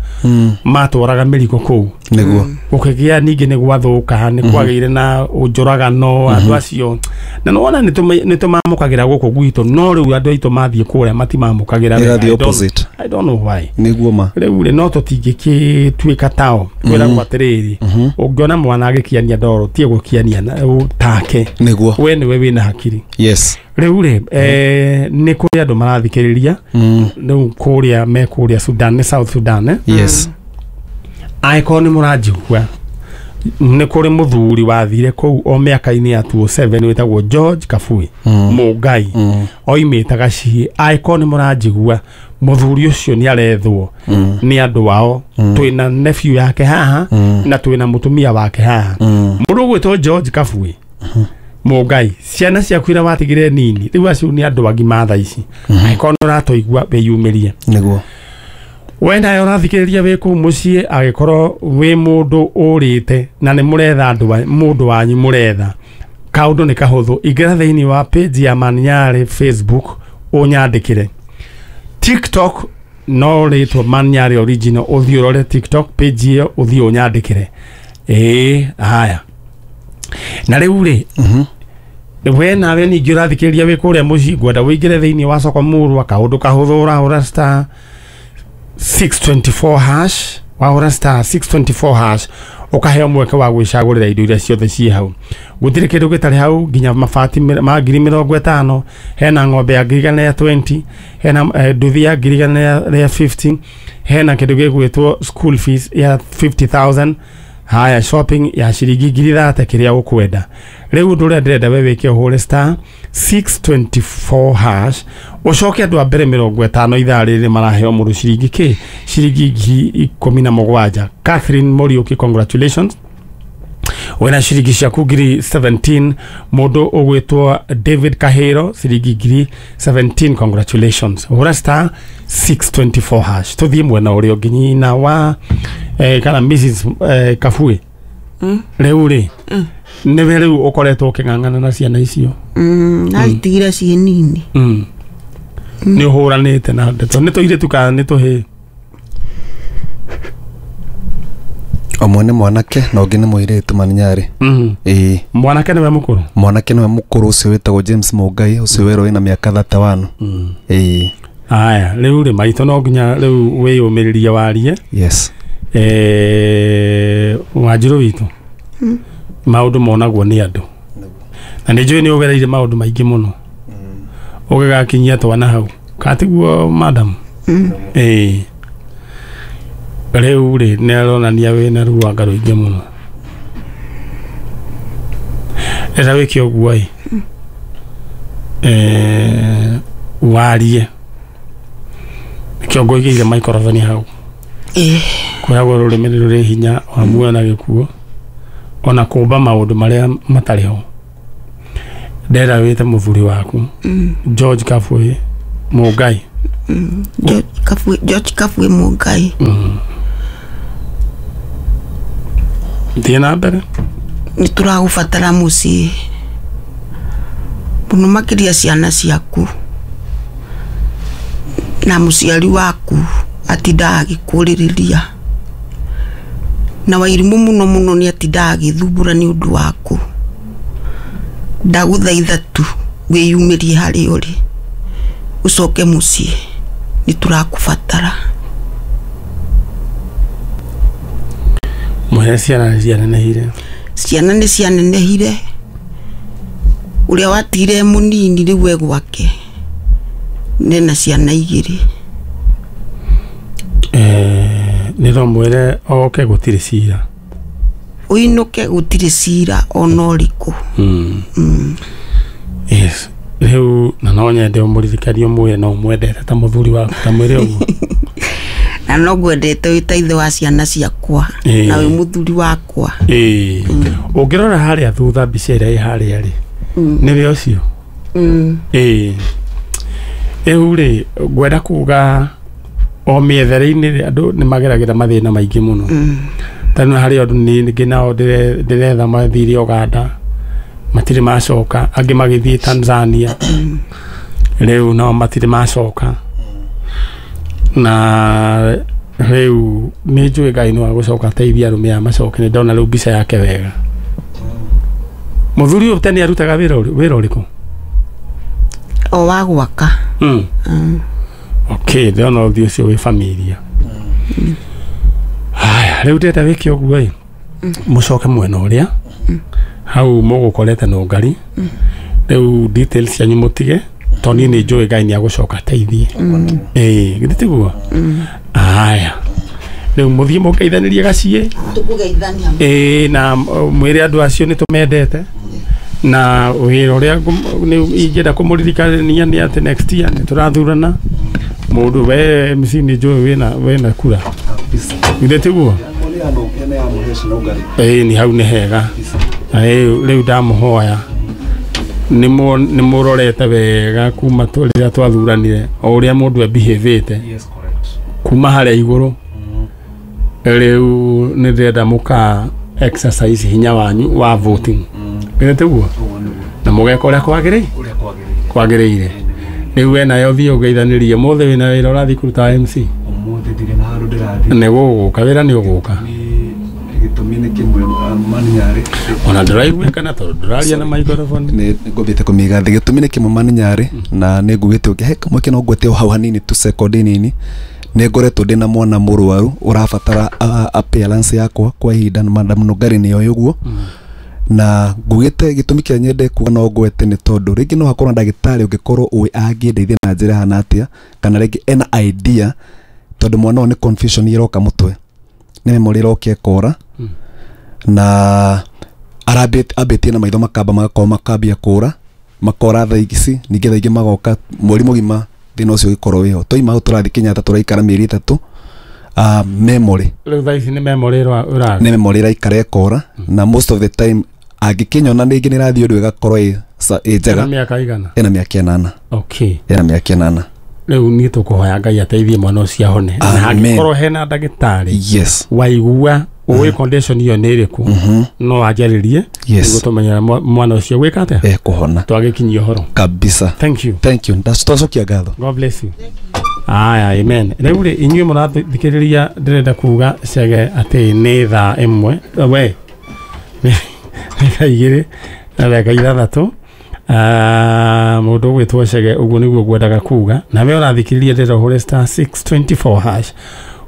matwaraga mĩrigo kũu. Nĩguo. Gũkĩgĩa ningĩ nĩ gwathũka nĩ kwagĩire na ũnjũragano andũ acio. Na nĩwona nĩ tũmamũkagĩra gũkũ gwitũ no rĩu andũ aitũ mathiĩ kũrĩa matimamũkagĩra wega. The opposite. I don't know why. Nĩguo ma. Rĩu rĩ no tũtingĩgĩtuĩka tao. Kwĩragwo atĩrĩrĩ ũngĩona mwana agĩkiania ndoro tie gũkiania take. Nĩguo. We nĩwe wĩna hakiri. Yes. Rĩu rĩ nĩ kũrĩ andũ marathikĩrĩria rĩu kũrĩa me kũrĩa Sudan nĩ South Sudan. Yes. Angĩkorwo nĩ mũranjigua nĩ kũrĩ mũthuri wathire kũu o mĩaka-inĩ ya 2007 wĩtagwo George Kabui Mũngai oimĩte Gaciĩ. Angĩkorwo nĩ mũranjigua mũthuri ũcio nĩ arethwo nĩ andũ ao. Twĩna nephew yake haha na twĩna mũtumia wake haha. Mũndũ ũgwĩtwo George Kabui Mũngai, ciana ciaku iria watigire nini rĩu acio nĩ andũ agima thaa ici. Angĩkorwo nĩ ũratũigua wĩyumĩrie. Nĩguo. We nawe ũrathikĩrĩria wĩ kũu mũciĩ angĩkorwo wĩ mũndũ ũrĩte na nĩ mũretha mũndũ wanyu mũretha kaũndũ nĩ kahũthũ. Ingĩra thĩinĩ wa page ya Maniarĩ Facebook ũnyandĩkĩre. TikTok no rĩtwo Maniarĩ original ũthiĩ ũrore TikTok page ĩyo ũthiĩ ũnyandĩkĩre. Haya. Na rĩu rĩ we nawe ningĩ ũrathikĩrĩria wĩ kũrĩa mũciĩ ngwenda ũingĩre thĩinĩ wa soko mũrwa kaũndũ kahũthũ ũrahũra star 624 hash wahũra star 624 hash ũkaheo mweke wa gwĩcagũrĩra indo iria ciothe ciĩ hau. Gũtirĩ kĩndũ gĩtarĩ hau nginya mabati ma 50,000, hena ng'ombe ya 120,000, hena nduthi ya 150,000, hena kĩndũ gĩgwĩtwo school fees ya 50,000, haya shopping ya ciringi 30,000 kĩrĩa ũkwenda. Rĩu ũndũ ũrĩa ndĩrenda we wĩke ũhũre star 624 hash ũcoke andũ a mbere 50 ithaa rĩrĩ maraheo mũndũ ciringi kĩ ciringi 17,000. Catherine Muriuki, congratulations wena ciringi ciaku 17,000. Mũndũ ũgwĩtwo David Kahero ciringi 17,000, congratulations. Hũra star 624 hash tũthiĩ mwena ũrĩa ũngĩ nyina wa kana Mrs Kabui. Rĩu rĩ nĩwe rĩu ũkoretwo ũkĩng'ang'ana na ciana icio? Nacitigire ciĩ nini. Nĩ ũhũranĩte na ndeto nĩ tũirĩtu kana nĩ tũhĩĩ? Ũmwe nĩ mwanake na ũngĩ nĩ mũirĩtu Maniarĩ. Mwanake nĩwe mũkũrũ? Mwanake nĩwe mũkũrũ ũcio wĩtagwo James Mũngai ũcio werwo wĩna mĩaka 31. Aya rĩu rĩ maitũ no nginya rĩu wĩyũmĩrĩrie warie. Yes. Wanjirũ witũ maũndũ monagwo nĩ andũ na nĩ njũĩ nĩ ũgereire maũndũ maingĩ mũno ũgĩgakinyia twana hau. Katiguo madam. Rĩu rĩ nĩ aronania wĩna ruanga rũingĩ mũno. Rĩrĩa wĩke ũguo ĩ warie nĩkĩo ngũigĩire microphone hau. Kwĩragwo rũrĩmĩ nĩ rũrĩ hinya wa muoyo na gĩkuũ ona kũmba maũndũ marĩa matarĩ ho. Ndĩrenda wĩte mũthuri waku George Kabui Mũngai. George Kabui Mũngai. Thiĩ na mbere. Nĩ tũragũbatara mũciĩ mũno makĩria ciana ciaku na mũciari waku atindaga agĩkũrĩrĩria na Wairimũ mũno mũno nĩ atindaga agĩthumbũra nĩ ũndũ waku. Ndagũthaitha tu wĩyumĩrie harĩa ũrĩ ũcoke mũciĩ, nĩ tũrakũbatara. Mũhe ciana nĩ cianenehire. Ciana nĩ cianenehire. Ũrĩa watigire mũnini rĩu e gwake nena ciana igĩrĩ. Nĩ ndamwĩre oke gũtirĩ cira. Ũinũke gũtirĩ cira ona ũrĩkũ. Yes. Rĩu na no nyende ũmũririkanie ũmwĩre no ũmwendete ta mũthuri waku ta mwĩre ũguo. Na no ngwendete wĩ ta ithe wa ciana ciakwa na wĩ mũthuri wakwa. Ũngĩrora harĩa thutha mbica ĩrĩa ĩ harĩa rĩ nĩwe ũcio. Rĩu rĩ ngwenda kuga o mĩethere-inĩ rĩ andũ nĩ mageragĩra mathĩna maingĩ mũno. Tondũ harĩ andũ ningĩ nao ndĩretha mathire Uganda matirĩ macoka, angĩ magĩthiĩ Tanzania rĩu nao matirĩ macoka. Na rĩu nĩ njũĩ Ngai no agũcoka ateithie arũme aya macoke, nĩ ndona rĩu mbica yake wega. Mũthuri ũyũ tene arutaga wĩra ũrĩkũ? O wa gwaka. Okay, ndĩrona ũthiũ ũcio wĩ familia. Haya, rĩu ndĩrenda wĩke ũguo ĩ mũcoke mwena ũrĩa hau mũgũkorete Nũngari. Rĩu details cianyu mũtige tondũ niĩ nĩ njũĩ Ngai nĩ agũcoka ateithie. Githĩ tiguo? Haya, rĩu mũthiĩ mũgeithanĩrie gaciĩ. Tũkũgeithania. Na mwĩre andũ acio nĩ tũmendete. Na wĩra ũrĩa ingĩenda kũmũririkania nĩ atĩ next year nĩ tũrathurana. Mũndũ we MC nĩ njũĩ wĩna kura. Githĩ tiguo? Nĩ hau nĩ hega. Rĩu ndamũhoya nĩ mũrorete wega kuma rĩrĩa twathuranire o ũrĩa mũndũ ebehĩvĩte kuma harĩa igũrũ. Rĩu nĩ ndĩrenda mũka exercise hinya wanyu wa voting. Githĩ tiguo? Na mũgeka ũrĩa kwagĩrĩire. Rĩu we nayo thiĩ ũgeithanĩrie ũmũthĩ wĩna wĩra ũrathiĩ kũruta MC. Ũmũthĩ ndirĩ na handũ ndĩrathiĩ. Nĩ gũgũka wĩra nĩ ũgũka. Gĩtũmi nĩ kĩmwe Maninyarĩ. Ona ndũraiguĩkana tondũ ndũraria na microphone. Nĩ ngũthiĩte kũmĩiga thĩ. Gĩtũmi nĩ kĩmwe Maninyarĩ na nĩ ngugĩte ũngĩ he kamweke no ngwete o hau hanini tu sekondi nini. Nĩ ngoretwo ndĩna mwana mũrwaru ũrabatara appearance yakwa kwa ihinda na Madam Nũngari nĩoĩ ũguo. Na ngugĩte gĩtũmi kĩrĩa nyende kuga no ngwete nĩ tondũ rĩngĩ no hakorwo na ndagĩtarĩ ũngĩkorwo ũĩ angĩndeithia na njĩra hana atĩa kana rĩngĩ ena idea tondũ mwana ũyũ nĩ confusion ĩroka mũtwe nĩ memory ĩroka ĩkora na ambĩtie na maitho makamba magakorwo makambia kũra makora thaa ici ningĩ thaa ingĩ magoka mweri mũgima thĩna ũcio ũgĩkorwo wĩho. Twaima hau tũrathiĩ Kenyatta tũraikara mĩeri 3 memory rĩu thaa ici nĩ memory ĩraga nĩ memory ĩraikara ĩkora na most of the time angĩkĩnyona rĩngĩ nĩ ĩrathiĩ ũndũ ĩgakorwo ĩ njega. Ena mĩaka igana? Ena mĩaka 8. Okay. Ena mĩaka 8. Rĩu niĩ tũkũhoya Ngai ateithie mwana ũcio ahone. Na angĩkorwo hena ndagĩtarĩ yes waigua ũĩ condition ĩyo nĩ ĩrĩkũ no anjarĩrie nĩguo tũmenyere mwana ũcio gwĩka atĩa ekũhona twagĩkinyia ũhoro kabisa. Thank you. Thank you. Twacokia ngatho. God bless you. Aya, amen. Rĩu rĩ inyuĩ mũrathikĩrĩria ndĩrenda kuga cege atĩ nĩ thaa 1 we nĩ thaa 2 na ndagĩka 6. Mũndũ ũgwĩtwo Chege ũguo nĩguo ngwendaga kuga. Na we ũrathikĩrĩria ndĩrenda ũhũre star 624 hash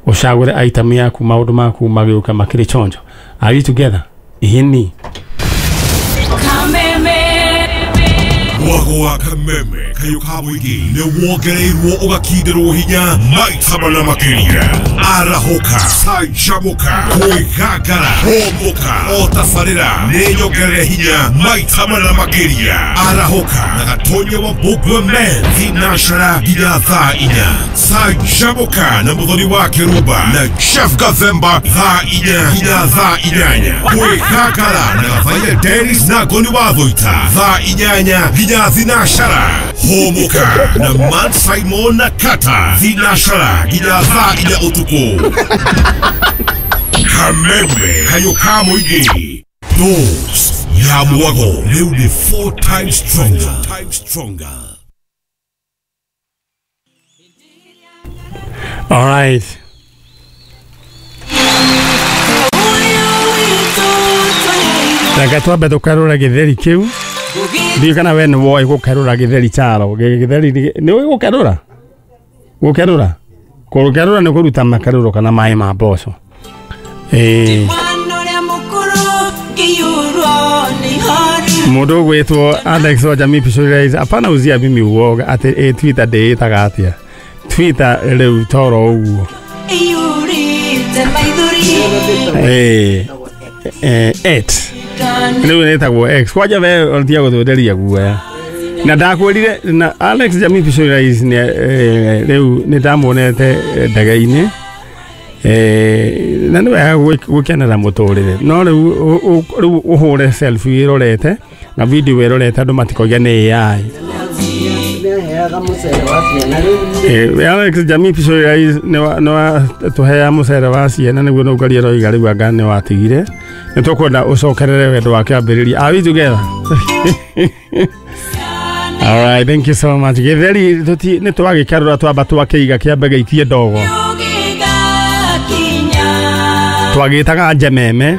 ũcagũre item yaku maũndũ maku magĩũka makĩrĩ chonjo. Are we together? Ihini. Mwago wa kameme kayo ka mũingĩ nĩ wongereirwo ũgakindĩrwo hinya maita mana makĩria. Arahũka, canjamũka, kwĩgangara, hũmũka, o tabarĩra nĩ nyongerere hinya maita mana makĩria. Arahũka na Gatonya wa Mbũmbua Men thinacara nginya thaa 4. Canjamũka na Mũthoni wa Kĩrumba na Jeff Gathemba thaa 4 nginya thaa 8. Kwĩgangara na Gathaiya Dennis na Ngoni wa Thũita thaa 8 nginya thinacara. Hũmũka na Man Simon na Kata thinacara nginya thaa 4 ũtukũ. Kameme kayo ka mũingĩ. Dose ya mwago rĩu nĩ 4 times stronger. All right. Reke twambe tũkerũre gĩtheri kĩu. Ndiũĩ kana we nĩ woĩ gũkerũra gĩtheri charo. Gĩtheri nĩ ũĩ gũkerũra? Gũkerũra? Gũkerũra nĩ kũruta makerũro kana maĩ ma mboco. Mũndũ ũgwĩtwo Alex wa Jamii Pictorials apana uzia mimi uoga atĩ Twitter ndĩĩtaga atĩa. Twitter rĩu toro ũguo. X. Rĩu nĩtagwo X. Kwanja we ũtiga gũtwenderia guoya. Na ndakwĩrire na Alex Jamii Pictorials rĩu nĩ ndamuonete ndege-inĩ. Na nĩ wega gũkenera mũtũrĩre. No rĩu ũhũre selfie ĩrorete na video ĩrorete andũ matikoige nĩ AI. Alex Jamii Pictorials nĩ tũheaga mũcere wa ciana nĩguo no ũkaria roiga rĩu anga nĩ watigire. Nĩ tũkwenda ũcokerere wendo wa kĩambĩrĩria. Are we together? All right, thank you so much. Gĩtheri nĩ twagĩkerũra twamba twakĩiga kĩambe gĩikie ndogo. Twagĩtaga njememe.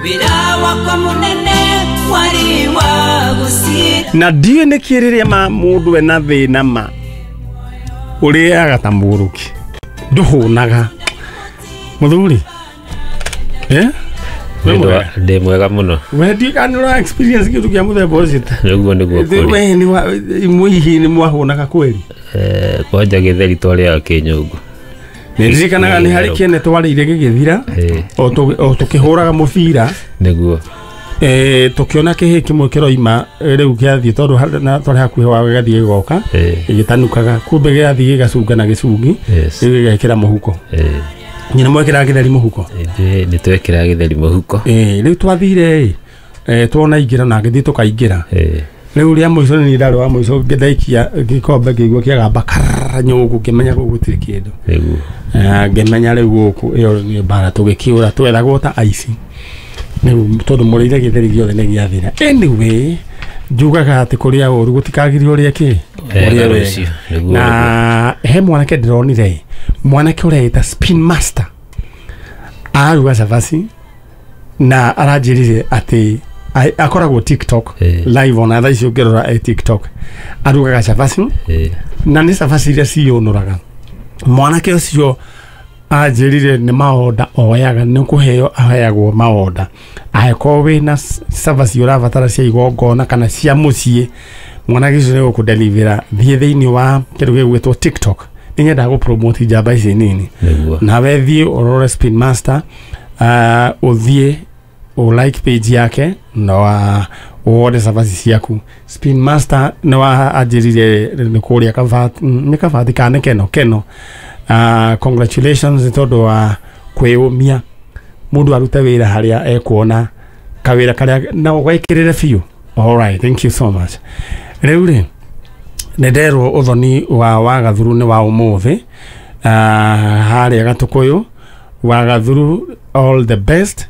Na ndiũĩ nĩkĩ rĩrĩa ma mũndũ ena thĩna ma ũrĩaga ta mũrũki ndũhũnaga. Mũthuri ndĩ mwega mũno. We ndiũĩ kana nĩ ũra experience kĩndũ kĩa mũthemba ũcio. Ũguo nĩguo kũrĩ. We nĩ hihi nĩ mwahũnaga kweli? Kwanja gĩtheri twarĩaga kĩnyũngũ. Nĩndirikanaga nĩ harĩ kĩene twarĩire gĩgĩthira o tũkĩhũraga mũbira nĩguo tũkĩona kĩhĩ kĩmwe kĩroima rĩu gĩathiĩ tondũ twarĩ hakuhĩ wa gĩgathiĩ gĩgoka gĩgĩtanukaga kumbe gĩgathiĩ gĩgacunga na gĩcungi rĩu gĩgekĩra mũhuko. Nyina mwekĩraga gĩtheri mũhuko? Nĩ twekĩraga gĩtheri mũhuko. Rĩu twathire tuona ingĩra na ngĩthiĩ tũkaingĩra. Rĩu rĩa mũico nĩ ndarĩ wa mũico ngĩthaikia gĩkombe ngĩigua kĩagamba karara nyũngũ ngĩmenya gũkũ gũtirĩ kĩndũ. Ngĩmenya rĩu gũkũ ĩyo nĩ mbara tũgĩkĩũra twethagwo ta aici. Rĩu tondũ mũrĩire gĩtheri gĩothe nĩ gĩathira. Anyway, njugaga atĩ kũrĩa ũru gũtikagĩrio ũrĩa kĩ ũrĩa wega. Na he mwanake ndĩronire mwanake ũreĩta Spin Master aruga cabaci na aranjĩrire atĩ akoragwo TikTok live ona thaa ici ũngĩrora e TikTok arugaga cabaci na nĩ cabaci iria ciyũnũraga. Mwanake ũcio anjĩrire nĩ maonda oyaga nĩ kũheo aheagwo maonda angĩkorwo wĩna cabaci ũrabatara cia igongona kana cia mũciĩ mwanake ũcio nĩ gũkũdelivera. Thiĩ thĩinĩ wa kĩndũ gĩgwĩtwo TikTok. Nĩ nyendaga gũpromote njamba ici nini nawe thiĩ ũrore Spin Master ũthiĩ ũ like page yake na wone cabaci ciaku. Spin Master nĩ wa anjĩrire nĩ kũrĩa Kabati nĩ Kabati kana Keno Keno. Congratulations nĩ tondũ wa kwĩyũmia mũndũ arute wĩra harĩa ekuona kawĩra karĩa na ũgekĩrĩre biũ. All right, thank you so much. Rĩu rĩ nĩ nderwo ũthoni wa Wagathuru nĩ wa ũmũthĩ harĩa Gatũkũyũ. Wagathuru, all the best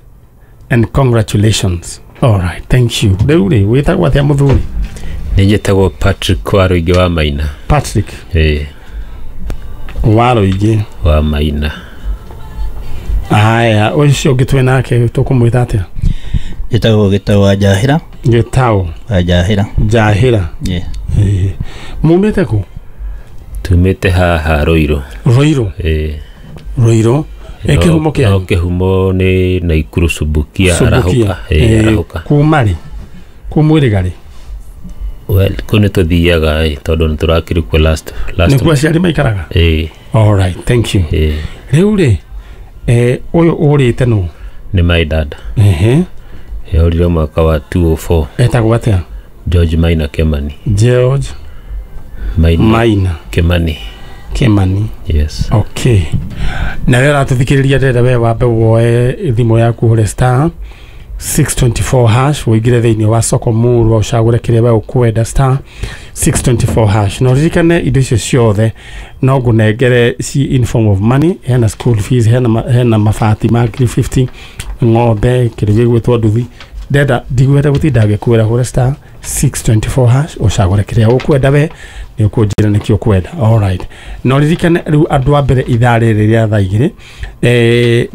and congratulations. All right, thank you. Rĩu rĩ wĩtagwo atĩa mũthuri? Nĩ njĩtagwo Patrick Waruingĩ wa Maina. Patrick Waruingĩ wa Maina. Aya, ũcio ũngĩ twĩ nake tũkũmwĩta atĩa? Njĩtagwo Gĩtaũ wa Njahĩra. Gĩtaũ wa Njahĩra. Njahĩra. Mumĩte kũ? Tumĩte haha Ruiru. Ruiru? Ruiru. Kĩhumo kĩanyu? Kĩhumo nĩ Naikuru Subukia. Arahũka. Arahũka. Kuma rĩ? Kumwĩrĩga rĩ? Well, kå nä tå thiaga tondå nä tå rakä kuo last nä kuo aciari maikaraga? Ĩĩ. All right, thank you. Rĩu rĩ, ũyũ ũrĩte nũ? Nĩ my dad. Ehe. Yorire mwaka wa 2004. Etagwo atĩa? George Maina Kemani. George Maina Kemani. Kemani. Yes. Okay. Na wewe ũratũthikĩrĩria ndĩrenda we wambe woe thimũ yaku ũhũre star 624 hash ũingĩre thĩinĩ wa soko murwa ũcagũre kĩrĩa we ũkwenda star 624 hash. Na ũririkane indo icio ciothe no ngũnengere ci in form of money. Hena school fees, hena mabati ma 350, ng'ombe, kĩndũ gĩgwĩtwo nduthi. Ndenda ndigwenda gũtinda ngĩkwĩra, hũra star 624 hash ũcagũre kĩrĩa ũkwenda we nĩ ũkũnjĩra nĩkĩ ũkwenda. All right. Na ũririkane rĩu andũ a mbere ithaa rĩrĩ rĩa thaa igĩrĩ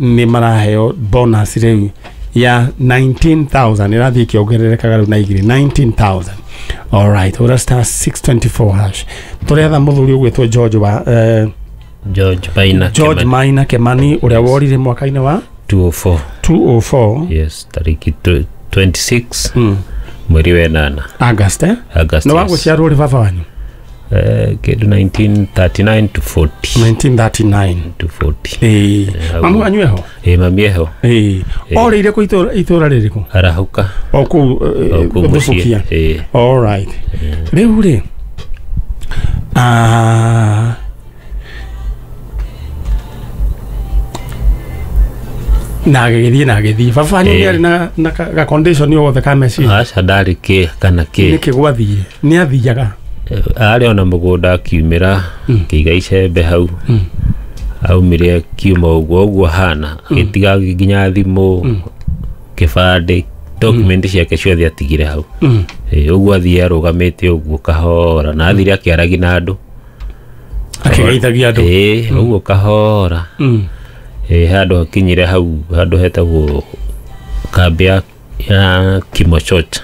nĩ maraheo bonus rĩu ya 19,000 ĩrathiĩ ĩkĩongererekaga rĩu na igĩrĩ 19,000. All right, hũra star 624 hash. Tũretha mũthuri ũgwĩtwo George wa George Maina George Kemani. Maina Kemani ũrĩa worire mwaka-inĩ wa 204. 204. Yes, tariki 26 mweri wa 8 August, eh? August. Nĩ wagũciarwo rĩ baba wanyu? Kĩndũ 1939 to 40. 1939 to 40. Ĩĩ. Mamu wanyu eho? Ĩĩ, mami eho. Ĩĩ. Orĩire kũ itũra rĩrĩkũ? Arahũka. O kũu Thubukia. Ĩĩ. All right. Rĩu rĩ, na agĩgĩthiĩ na agĩthiĩ. Baba wanyu nĩ arĩ na ga condition o wothe ka meciria? Aca, ndarĩ kĩ kana kĩ. Nĩkĩ gwathire? Nĩ athiaga? Arĩ ona mũgũnda akiumĩra akĩiga icembe hau. Aumire akiuma ũguo ũguo hana agĩtiga nginya thimũ, kĩbandĩ, document ciake ciothe atigire hau. Ũguo athiĩ arũgamĩte ũguo kahora na athire akĩaragia na andũ. Akĩgeithagia andũ. Ĩĩ, ũguo kahora. Handũ hakinyire hau handũ hetagwo kambĩ ya Kimochot.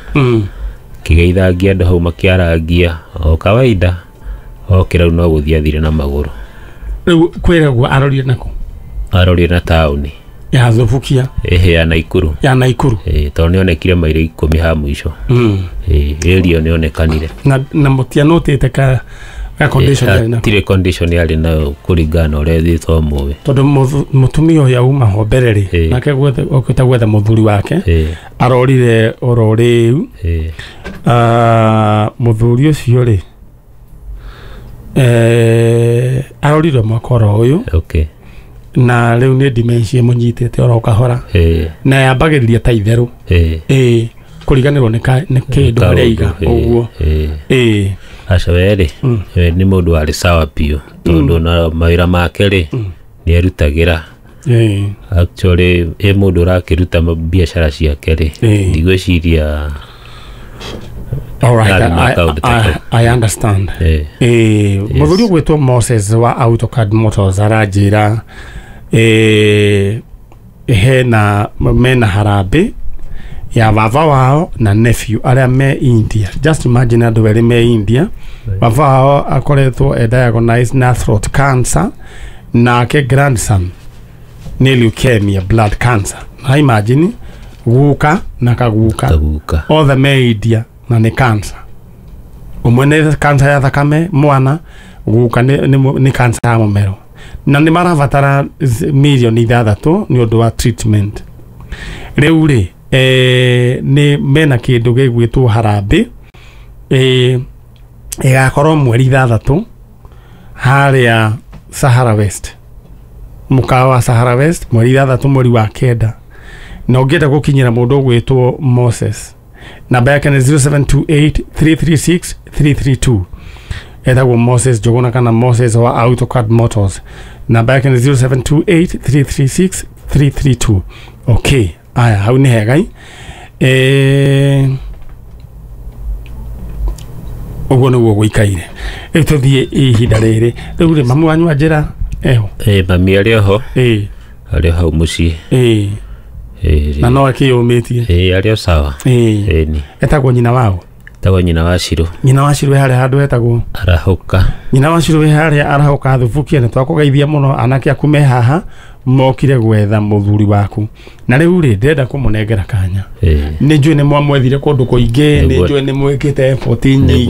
Kĩgeithagia andũ hau makĩarangia o kawaida okĩra rĩu no gũthiĩ athire na magũrũ. Rĩu kwĩragwo arorire nakũ? Arorire na taũni ya Thubukia. Ĩhĩ, ya Naikuru. Ya Naikuru. Ĩĩ, tondũ nĩonekire mairo 10 ha mũico. Ĩĩ, ĩrio nĩonekanire. Na mũtianotĩte ka condition yarĩ nako? Tirĩ condition yarĩ nayo kũringana na ũrĩa ĩthĩtwo mũĩ. Tondũ mũtumia ũyũ auma ho mbere rĩ, nake okĩte gwetha mũthuri wake, arorire oro rĩu. Mũthuri ũcio rĩ, arorire mwaka oro ũyũ. Okay. Na rĩu nĩ dementia ĩmũnyitĩte oro kahora. Na yambagĩrĩria ta itherũ. Ĩĩ, kũriganĩrwo nĩ kĩndũ harĩa aiga ũguo. Ĩĩ. Aca we rĩ, we nĩ mũndũ warĩ sawa biũ tondũ na mawĩra make rĩ nĩ erutagĩra. Actually ĩ mũndũ ũrakĩruta biacara ciake rĩ, ndigwĩciria. All right, I understand. Mũthuri ũgwĩtwo Moses wa AutoCAD Motors aranjĩra hena mena harambĩ ya baba wao na nephew arĩa me India. Just imagine andũ erĩ me India. Baba wao akoretwo e diagnosed na throat cancer, nake grandson nĩ leukemia, blood cancer. Na imagine guka na kaguka othe me India na nĩ cancer. Ũmwe nĩ cancer ya thakame mwana, guka nĩ cancer ya mũmero. Na nĩ marabatara mirioni 6 nĩ ũndũ wa treatment. Rĩu rĩ, nĩ mena kĩndũ gĩgwĩtwo harambĩ ĩgakorwo mweri 6 harĩa Sahara West, mũkawa wa Sahara West, mweri 6 mweri wa 9. Na ũngĩenda gũkinyĩra mũndũ ũgwĩtwo Moses, namba yake nĩ 0728 336 332. Etagwo Moses Njuguna kana Moses wa AutoCAD Motors. Namba yake nĩ 0728 336 332. Okay, aya hau nĩ hega. Ũguo nĩguo gũikaire. Rĩu tũthiĩ ihinda rĩrĩ. Rĩu rĩ, mamu wanyu anjĩra eho? Ĩĩ, mami arĩ oho. Ĩĩ. Arĩ o hau mũciĩ. Ĩĩ. Na no akĩyũmĩtie? Ĩĩ, arĩ o sawa. Ĩĩ. Etagwo nyina wao? Tagwo nyina wa Shiro. Nyina wa Shiro harĩa handũ hetagwo Arahũka. Nyina wa Shiro harĩa arahũka thubukia. Nĩ twakũgeithia mũno. Anake aku me haha mokire gwetha mũthuri waku, na rĩu rĩ, ndĩrenda kũmũnengera kanya. Nĩ njũĩ nĩ mwamwethire kũndũ kũingĩ, nĩ Nĩguo. njũĩ nĩ mwĩkĩte effort nyingĩ.